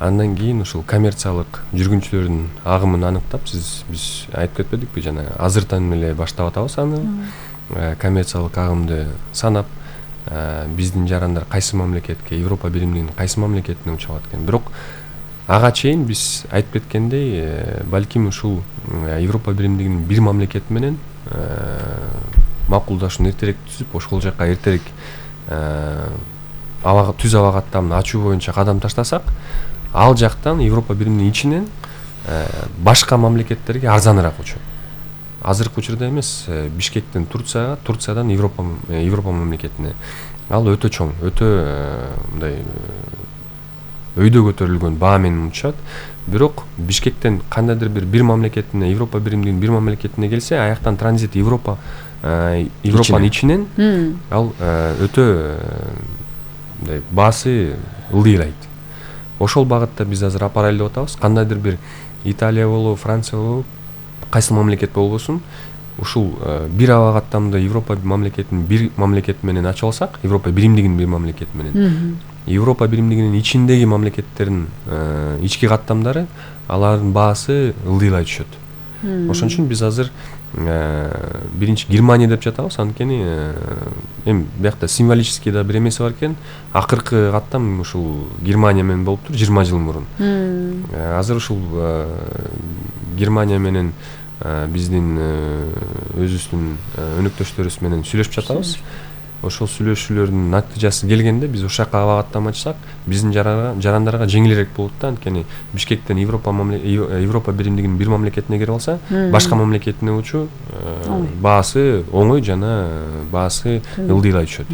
Андан кийин ушул коммерциялык жүргүнчүлөрдүн агымын аныктап, сиз биз айтып кетпедикпи жана азыртан эле баштап атабыз аны. Коммерциялык агымды санап, биздин жарандар кайсы мамлекетке, Европа биримдигинин кайсы мамлекетине учап аткан. Бирок ага чейин биз айтып кеткендей, балким ушул Европа биримдигинин бир мамлекет менен макулдашууну эртерээк түзүп, ошол жакка эртерээк аба түз аба каттамын ачуу боюнча кадам таштасак, ал жактан Европа биримдигинин ичинен башка мамлекеттерге арзаныраак учат. Азыркы учурда эмес, Бишкектен Турцияга, Турциядан Европа Европа мамлекетине. Ал өтө чоң, өтө мындай өйдө көтөрүлгөн баа менен учат. Бирок Бишкектен кандайдыр бир бир мамлекетине, Европа биримдигинин бир мамлекетине келсе, аяктан транзит Европа Европанын ичинен ал өтө мындай баасы ылдыйлайт. Ошол багытта биз азыр апарайлы деп атабыз. Кандайдыр бир Италия болобу, Франция болобу, кайсы мамлекет болбосун, ушул бир аба каттамды Европа мамлекетинин бир мамлекет менен ачып алсак, Европа биримдигинин бир мамлекет менен, Европа биримдигинин ичиндеги мамлекеттердин ички каттамдары, алардын баасы ылдыйлай түшөт. Ошон үчүн биз азыр биринчи Германия деп жатабыз, анткени эми биякта символический да бир эмеси бар экен. Акыркы каттам ушул Германия менен болуптур жыйырма жыл мурун. Азыр ушул Германия менен биздин өзүбүздүн өнөктөштөрүбүз менен сүйлөшүп жатабыз. ошол сүйлөшүүлөрдүн натыйжасы келгенде биз ошол жака абагаттамачсак биздин жарандарга жеңилирээк болот да. Анткени Бишкектен Европа Европа биримдигинин бир мамлекетине кирип алса, башка мамлекетине учуу баасы оңой жана баасы ылдыйлай түшөт.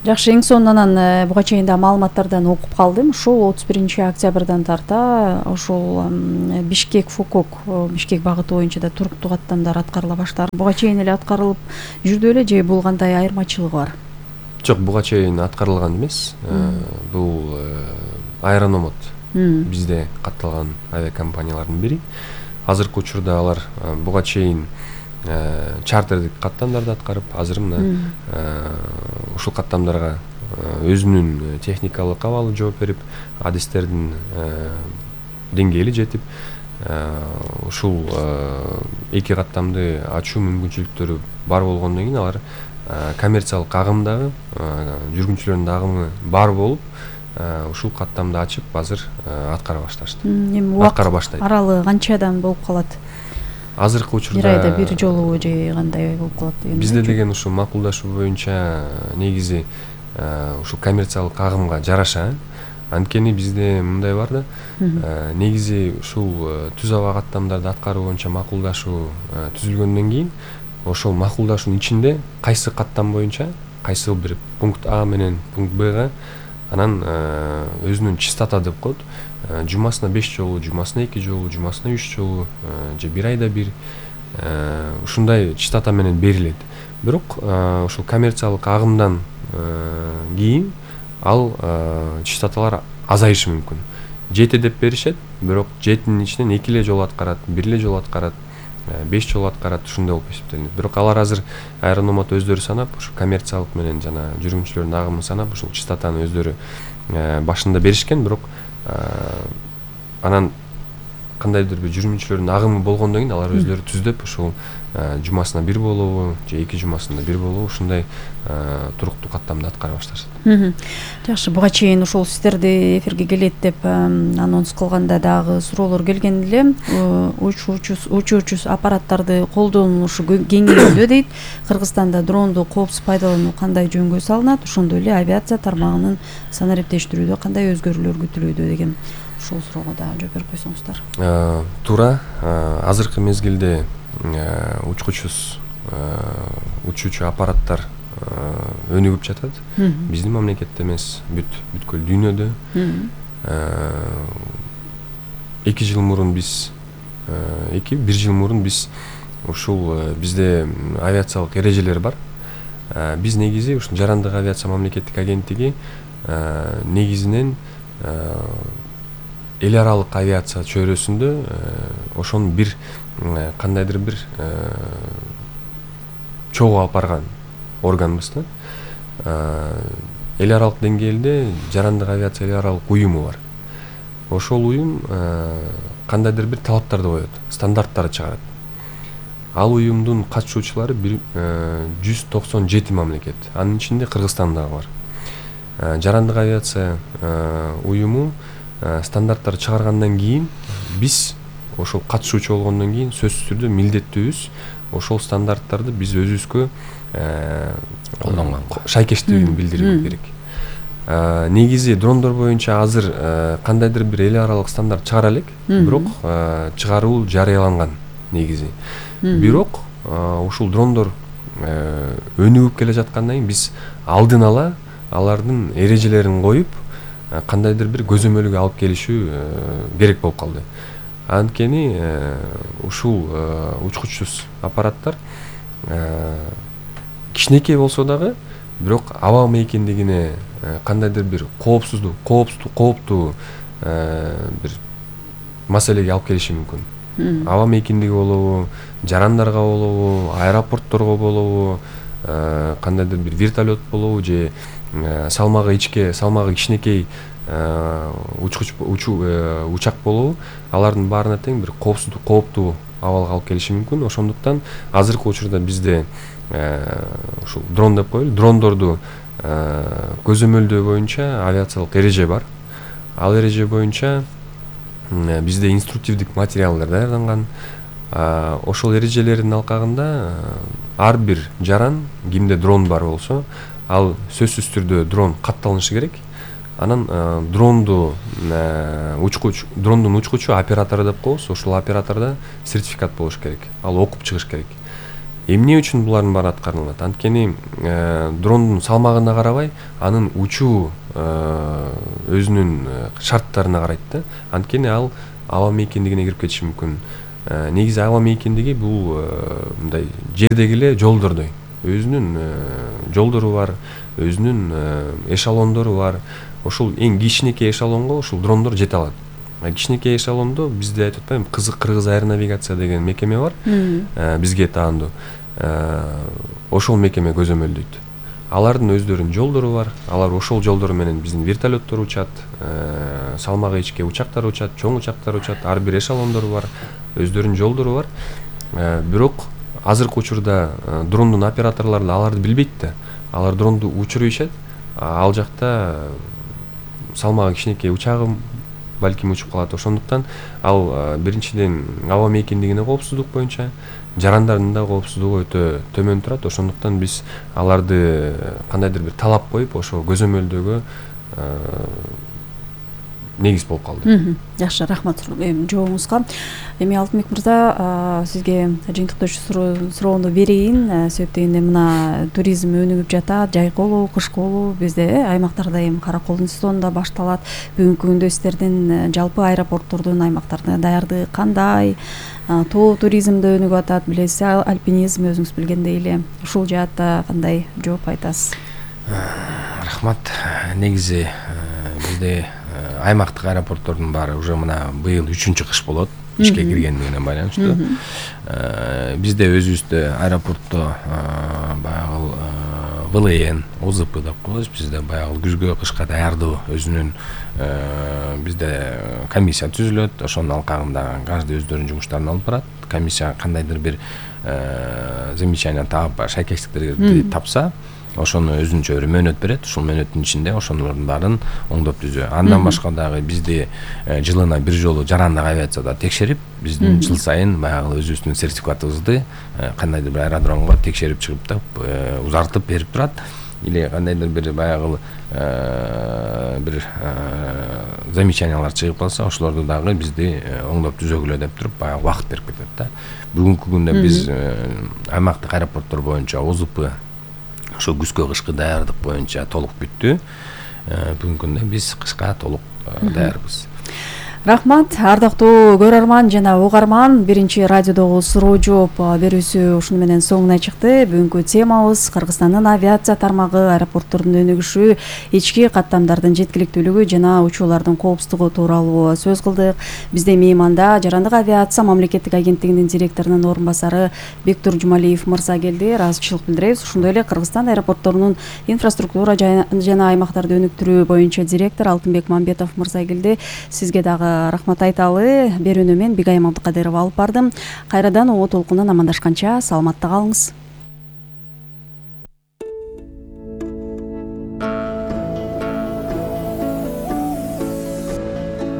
Жакшы, эң сонун анан буга чейин да маалыматтардан окуп калдым. Ушул отуз биринчи октябрдан тарта ошол Бишкек Фукок Бишкек багыты боюнча да туруктуу каттамдар аткарыла баштады. Буга чейин эле аткарылып жүрдү эле же бул кандай айырмачылыгы бар? Жок, буга чейин аткарылган эмес. Бул Аэрономот бизде катталган авиакомпаниялардын бири. Азыркы учурда алар буга чейин чартердик каттамдарды аткарып, азыр мына ушул каттамдарга өзүнүн техникалык абалы жооп берип, адистердин деңгээли жетип, ушул эки каттамды ачуу мүмкүнчүлүктөрү бар болгондон кийин алар коммерциялык агымдагы жүргүнчүлөрдүн агымы бар болуп, ушул каттамды ачып азыр аткара башташты. Эми аткара баштайт. Аралыгы канчадан болуп калат? Азыркы учурда бир айда бир жолу же кандай болуп калат деген? Бизде деген ушул макулдашуу боюнча негизи ушул коммерциялык агымга жараша. Анткени бизде мындай бар да, негизи ушул түз аба каттамдарды аткаруу боюнча макулдашуу түзүлгөндөн кийин ошол макулдашуунун ичинде кайсы каттам боюнча, кайсы бир пункт А менен пункт Бга анан өзүнүн частота деп коет. Жумасына беш жолу, жумасына эки жолу, жумасына үч жолу же бир айда бир ушундай частота менен берилет. Бирок ушул коммерциялык агымдан кийин ал частоталар азайышы мүмкүн. Жети деп беришет, бирок жетинин ичинен эки эле жолу аткарат, бир эле жолу аткарат, беш жолу аткарат, ушундай болуп эсептелинет. Бирок алар азыр Аэрономот өздөрү санап, ушу коммерциялык менен жана жүргүнчүлөрдүн агымын санап, ушул частотаны өздөрү башында беришкен, бирок анан кандайдыр бир жүргүнчүлөрдүн агымы болгондон кийин алар өздөрү түздөп ушул жумасына бир болобу же эки жумасында бир болобу ушундай туруктуу каттамды аткара башташат. Жакшы, буга чейин ушул сиздерди эфирге келет деп анонс кылганда дагы суроолор келген эле. Учуучу аппараттарды колдонушу кеңеюдө дейт. Кыргызстанда дронду коопсуз пайдалануу кандай жөнгө салынат? Ошондой эле авиация тармагынын санариптештирүүдө кандай өзгөрүүлөр күтүлүүдө деген ушул суроого да жооп берип койсоңуздар. Туура, азыркы мезгилде учкучсуз учуучу аппараттар өнүгүп жатат. Биздин мамлекетте эмес, бүт бүткүл дүйнөдө. эки жыл мурун биз эки бир жыл мурун биз ушул бизде авиациялык эрежелер бар. Биз негизи ушул жарандык авиация мамлекеттик агенттиги негизинен эл аралык авиация чөйрөсүндө ошону бир кандайдыр бир чогуу алып барган органбыз да. Эл аралык деңгээлде жарандык авиация эл аралык уюму бар. Ошол уюм кандайдыр бир талаптарды коет, стандарттарды чыгарат. Ал уюмдун катышуучулары жүз токсон жети мамлекет. Анын ичинде Кыргызстан дагы бар. Жарандык авиация уюму стандарттарды чыгаргандан кийин биз ошол катышуучу болгондон кийин сөзсүз түрдө милдеттүүбүз ошол стандарттарды биз өзүбүзгө колдонгонго шайкештигин билдирүү керек. Негизи дрондор боюнча азыр кандайдыр бир эл аралык стандарт чыгара элек, бирок чыгаруу жарыяланган негизи. Бирок ушул дрондор өнүгүп келе жаткандан кийин биз алдын ала алардын эрежелерин коюп кандайдыр бир көзөмөлгө алып келишүү керек болуп калды. Анткени ушул учкучсуз аппараттар кичинекей болсо дагы, бирок аба мейкиндигине кандайдыр бир коопсуздук, кооптуу, кооптуу бир маселеге алып келиши мүмкүн. Аба мейкиндиги болобу, жарандарга болобу, аэропортторго болобу, кандайдыр бир вертолет болобу же салмагы ичке, салмагы кичинекей учкуч учак болобу, алардын баарына тең бир коопсуздук, кооптуу абалга алып келиши мүмкүн. Ошондуктан азыркы учурда бизде ушул дрон деп коелу, дрондорду көзөмөлдөө боюнча авиациялык эреже бар. Ал эреже боюнча бизде инструктивдик материалдар даярданган. ошол эрежелердин алкагында ар бир жаран, кимде дрон бар болсо, ал сөзсүз түрдө дрон катталышы керек. Анан дронду учкуч, дрондун учкучу оператору деп коебуз. Ошол оператордо сертификат болуш керек. Ал окуп чыгыш керек. Эмне үчүн булардын баары аткарылат? Анткени дрондун салмагына карабай, анын учуу өзүнүн шарттарына карайт да. Анткени ал аба мейкиндигине кирип кетиши мүмкүн. Негизи аба мейкиндиги бул мындай жердеги эле жолдордой. Өзүнүн жолдору бар, өзүнүн эшелондору бар. Ошол эң кичинекей эшелонго ошол дрондор жете алат. Кичинекей эшелондо бизде айтып атпайбы, Кызык Кыргыз аэронавигация деген мекеме бар. Бизге таандуу. Ошол мекеме көзөмөлдөйт. Алардын өздөрүнүн жолдору бар. Алар ошол жолдор менен биздин вертолеттор учат, салмагы ичке учактар учат, чоң учактар учат. Ар бир эшелондору бар, өздөрүнүн жолдору бар. Бирок азыркы учурда дрондун операторлору аларды билбейт да. Алар дронду учурушат. Ал жакта салмагы кичинекей учагым балким учуп калат. Ошондуктан ал биринчиден аба мейкиндигине коопсуздук боюнча, жарандардын да коопсуздугу өтө төмөн турат. Ошондуктан биз аларды кандайдыр бир талап коюп, ошо көзөмөлдөгө негиз болуп калды. Жакшы, рахмат жообуңузга. Эми Алтынбек мырза, сизге жыйынтыктоочу суроону берейин. Себеп дегенде мына туризм өнүгүп жатат, жайколуу, кышкылуу, бизде аймактарда эми караколдун сезону да башталат. Бүгүнкү күндө сиздердин жалпы аэропорттордун аймактарда даярдыгы кандай? Тоо туризм да өнүгүп атат, билесиз, альпинизм өзүңүз билгендей эле. Ушул жаатта кандай жооп айтасыз? Рахмат. Негизи бизде аймактык аэропорттордун баары уже мына быйыл үчүнчү кыш болот, ишке киргендигине байланыштуу. Бизде өзүбүздө аэропортто баягы вэ эл эн, о зэ пэ деп коебуз. Бизде баягы күзгө, кышка даярдоо өзүнүн бизде комиссия түзүлөт. Ошонун алкагында каждый өздөрүнүн жумуштарын алып барат. Комиссия кандайдыр бир замечание таап, шайкештиктерди тапса, ошону өзүнчө бир мөөнөт берет. Ушул мөөнөттүн ичинде ошолордун баарын оңдоп түзөө. Андан башка дагы бизди жылына бир жолу жарандык авиацияда текшерип, биздин жыл сайын баягы өзүбүздүн сертификатыбызды кандайдыр бир аэродромго текшерип чыгып да узартып берип турат. Или кандайдыр бир баягы бир замечаниялар чыгып калса, ошолорду дагы бизди оңдоп түзөгүлө деп туруп баягы убакыт берип кетет да. Бүгүнкү күндө биз аймактык аэропорттор боюнча о зэ пэ ошо күзгө, кышкы даярдык боюнча толук бүттү. Бүгүнкү күндө биз кышка толук даярбыз. Рахмат, ардактуу көрөрман жана угарман. Биринчи радиодогу суроо жооп берүүсү ушуну менен соңуна чыкты. Бүгүнкү темабыз Кыргызстандын авиация тармагы, аэропорттордун өнүгүшү, ички каттамдардын жеткиликтүүлүгү жана учуулардын коопсуздугу тууралуу сөз кылдык. Бизде мейманда Жарандык авиация мамлекеттик агенттигинин директорунун орун басары Бектур Жумалиев мырза келди. Ыраазычылык билдиребиз. Ошондой эле Кыргызстан аэропортторунун инфраструктура жана аймактарды өнүктүрүү боюнча директор Алтынбек Мамбетов мырза келди. Сизге дагы рахмат айталы. Берүүнү мен Бигай Мамдыкадырова алып бардым. Кайрадан о толкундан амандашканча саламатта калыңыз.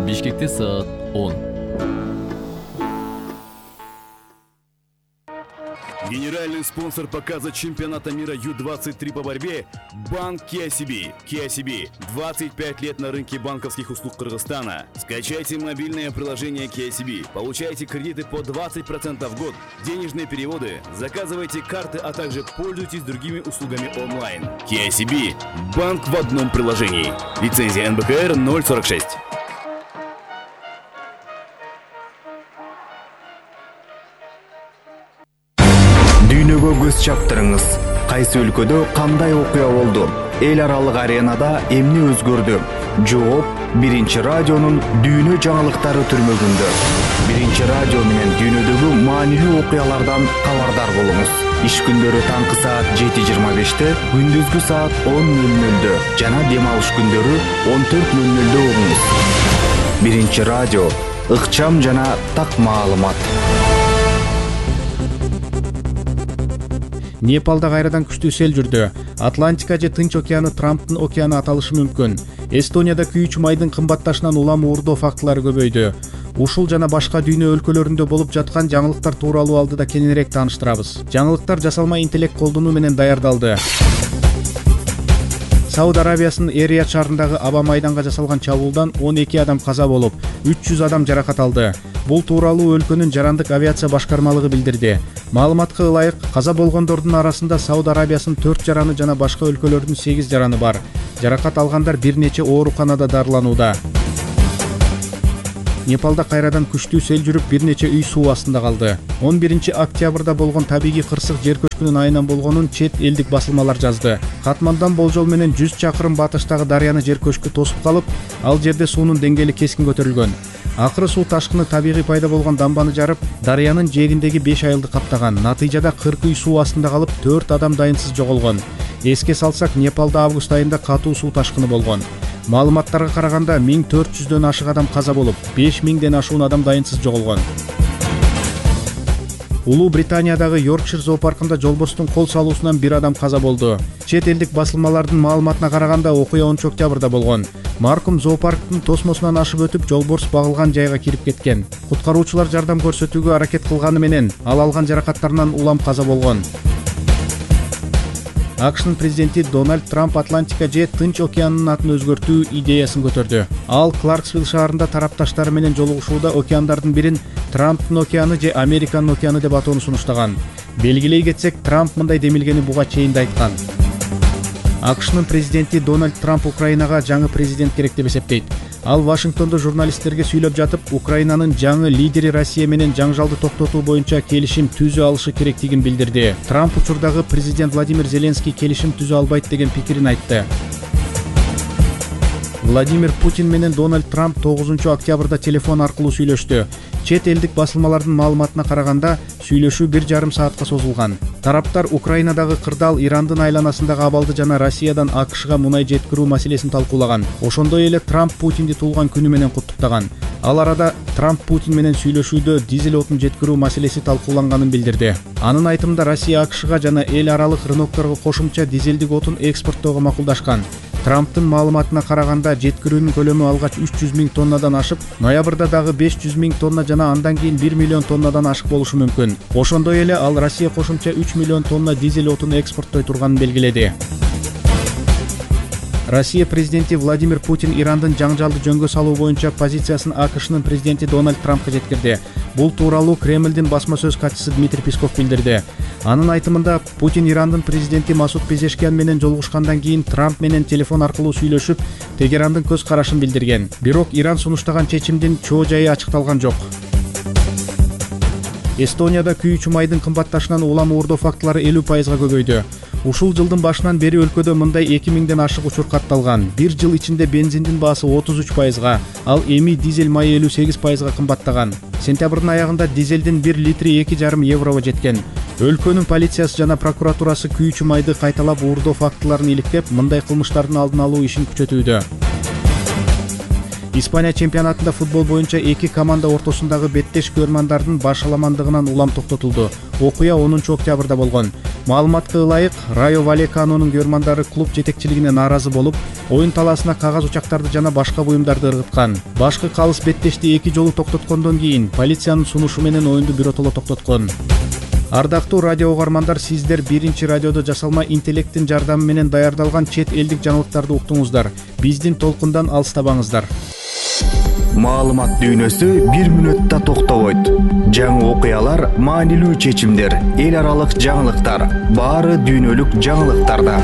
Бишкекте саат он. Генеральный спонсор показа чемпионата мира ю двадцать три по борьбе – Банк кей ай си би. кей ай си би – двадцать пять лет на рынке банковских услуг Кыргызстана. Скачайте мобильное приложение кей ай си би, получайте кредиты по двадцать процентов в год, денежные переводы, заказывайте карты, а также пользуйтесь другими услугами онлайн. кей ай си би – банк в одном приложении. Лицензия эн бэ ка эр ноль сорок шесть. Дүйнөгө көз чаптырыңыз. Кайсы өлкөдө кандай окуя болду? Эл аралык аренада эмне өзгөрдү? Жооп Биринчи радионун дүйнө жаңылыктары түрмөгүндө. Биринчи радио менен дүйнөдөгү маанилүү окуялардан кабардар болуңуз. Иш күндөрү таңкы саат жети жыйырма беште, күндүзгү саат он нөл нөлдө жана дем алыш күндөрү он төрт нөл нөлдө угуңуз. Биринчи радио ыкчам жана так маалымат. Непалда кайрадан күчтүү сел жүрдү. Атлантика же Тынч океаны Трамптын океаны аталышы мүмкүн. Эстонияда күйүүчү майдын кымбатташынан улам уурдоо фактылары көбөйдү. Ушул жана башка дүйнө өлкөлөрүндө болуп жаткан жаңылыктар тууралуу алдыда кененирээк тааныштырабыз. Жаңылыктар жасалма интеллект колдонуу менен даярдалды. Сауд Арабиясынын Эрият шаарындагы аба майданга жасалган чабуулдан он эки адам каза болуп, үч жүз адам жаракат алды. Бул тууралуу өлкөнүн жарандык авиация башкармалыгы билдирди. Маалыматка ылайык, каза болгондордун арасында Сауд Арабиясынын төрт жараны жана башка өлкөлөрдүн сегиз жараны бар. Жаракат алгандар бир нече ооруканада дарыланууда. Непалда кайрадан күчтүү сел жүрүп, бир нече үй суу астында калды. он биринчи октябрда болгон табигый кырсык жер көчкүнүн айынан болгонун чет элдик басылмалар жазды. Катмандан болжол менен жүз чакырым батыштагы дарыяны жер көчкү тосуп калып, ал жерде суунун деңгээли кескин көтөрүлгөн. Акыры суу ташкыны табигый пайда болгон дамбаны жарып, дарыянын жээгиндеги беш айылды каптаган. Натыйжада кырк үй суу астында калып, төрт адам дайынсыз жоголгон. Эске салсак, Непалда август айында катуу суу ташкыны болгон. Маалыматтарга караганда миң төрт жүздөн ашык адам каза болуп, беш миңден ашуун адам дайынсыз жоголгон. Улуу Британиядагы Йоркшир зоопаркында жолборстун кол салуусунан бир адам каза болду. Чет элдик басылмалардын маалыматына караганда окуя онунчу октябрда болгон. Маркум зоопарктын тосмосунан ашып өтүп, жолборс багылган жайга кирип кеткен. Куткаруучулар жардам көрсөтүүгө аракет кылганы менен ал алган жаракаттарынан улам каза болгон. АКШнын президенти Дональд Трамп Атлантика же Тынч океанынын атын өзгөртүү идеясын көтөрдү. Ал Кларксвилл шаарында тарапташтары менен жолугушууда океандардын бирин Трамптын океаны же Американын океаны деп атоону сунуштаган. Белгилей кетсек, Трамп мындай демилгени буга чейин да айткан. АКШнын президенти Дональд Трамп Украинага жаңы президент керек деп эсептейт. Ал Вашингтондо журналисттерге сүйлөп жатып, Украинанын жаңы лидери Россия менен жаңжалды токтотуу боюнча келишим түзө алышы керектигин билдирди. Трамп учурдагы президент Владимир Зеленский келишим түзө албайт деген пикирин айтты. Владимир Путин менен Дональд Трамп тогузунчу октябрда телефон аркылуу сүйлөштү. Чет элдик басылмалардын маалыматына караганда, сүйлөшүү бир жарым саатка созулган. Тараптар Украинадагы кырдаал, Ирандын айланасындагы абалды жана Россиядан АКШга мунай жеткирүү маселесин талкуулаган. Ошондой эле Трамп Путинди туулган күнү менен куттуктаган. Ал арада Трамп Путин менен сүйлөшүүдө дизель отун жеткирүү маселеси талкууланганын билдирди. Анын айтымында Россия АКШга жана эл аралык рынокторго кошумча дизелдик отун экспорттоого макулдашкан. Трамптын маалыматына караганда, жеткирүүнүн көлөмү алгач үч жүз миң тоннадан ашып, ноябрда дагы беш жүз миң тонна жана андан кийин бир миллион тоннадан ашык болушу мүмкүн. Ошондой эле ал Россия кошумча үч миллион тонна дизель отун экспорттой турганын белгиледи. Россия президенти Владимир Путин Ирандын жаңжалды жөнгө салуу боюнча позициясын АКШнын президенти Дональд Трампка жеткирди. Бул тууралуу Кремлдин басма сөз катчысы Дмитрий Песков билдирди. Анын айтымында, Путин Ирандын президенти Масуд Пезешкиян менен жолугушкандан кийин Трамп менен телефон аркылуу сүйлөшүп, Тегерандын көз карашын билдирген. Бирок Иран сунуштаган чечимдин чоо жайы ачыкталган жок. Эстонияда күйүүчү майдын кымбатташынан улам уурдоо фактылары элүү пайызга көбөйдү. Ушул жылдын башынан бери өлкөдө мындай эки миңден ашык учур катталган. Бир жыл ичинде бензиндин баасы отуз үч пайызга, ал эми дизель майы элүү сегиз пайызга кымбаттаган. Сентябрдын аягында дизелдин бир литри эки жарым еврого жеткен. Өлкөнүн полициясы жана прокуратурасы күйүүчү майды кайталап уурдоо фактыларын иликтеп, мындай кылмыштардын алдын алуу ишин күчөтүүдө. Испания чемпионатында футбол боюнча эки команда ортосундагы беттеш көрмандардын башаламандыгынан улам токтотулду. Окуя онунчу октябрда болгон. Маалыматка ылайык, Райо Валеканонун көрмандары клуб жетекчилигине нааразы болуп, оюн талаасына кагаз учактарды жана башка буюмдарды ыргыткан. Башкы калыс беттешти эки жолу токтоткондон кийин полициянын сунушу менен оюнду биротоло токтоткон. Ардактуу радио угармандар, сиздер биринчи радиодо жасалма интеллекттин жардамы менен даярдалган чет элдик жаңылыктарды уктуңуздар. Биздин толкундан алыстабаңыздар. Маалымат дүйнөсү бир мүнөттө токтобойт. Жаңы окуялар, маанилүү чечимдер, эл аралык жаңылыктар, баары дүйнөлүк жаңылыктарда.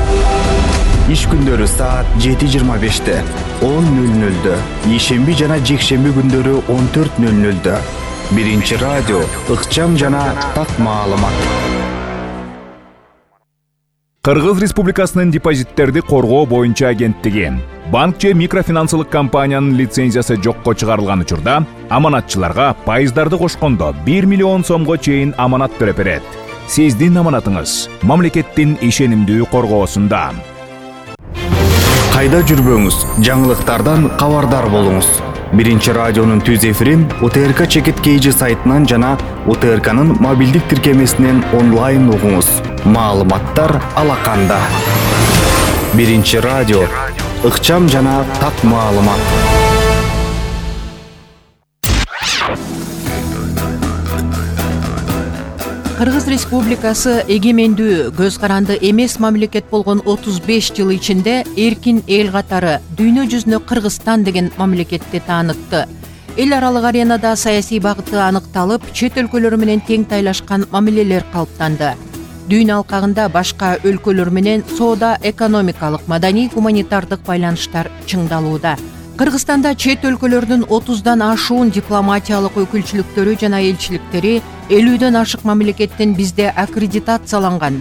Иш күндөрү саат жети жыйырма беште, он нөл нөлдө, ишемби жана жекшемби күндөрү он төрт нөл нөлдө. Биринчи радио, ыкчам жана так маалымат. Кыргыз Республикасынын депозиттерди коргоо боюнча агенттиги банк же микрофинансылык компаниянын лицензиясы жокко чыгарылган учурда аманатчыларга пайыздарды кошкондо бир миллион сомго чейин аманат бере берет. Сиздин аманатыңыз мамлекеттин ишенимдүү коргоосунда. Кайда жүрбөңүз, жаңылыктардан кабардар болуңуз. Биринчи радионун түз эфирин У Т Р К Чекит Кейжи сайтынан жана У Т Р К'нын мобилдик тиркемесинен онлайн угуңуз. Маалыматтар алаканда. Биринчи радио, ыкчам жана так маалымат. Кыргыз Республикасы эгемендүү, көз каранды эмес мамлекет болгон отуз беш жыл ичинде эркин эл катары дүйнө жүзүнө Кыргызстан деген мамлекетти таанытты. Эл аралык аренада саясий багыты аныкталып, чет өлкөлөр менен тең тайлашкан мамилелер калыптанды. Дүйнө алкагында башка өлкөлөр менен соода, экономикалык, маданий, гуманитардык байланыштар чыңдалууда. Кыргызстанда чет өлкөлөрдүн отуздан ашуун дипломатиялык өкүлчүлүктөрү жана элчиликтери элүүдөн ашык мамлекеттин бизде аккредитацияланган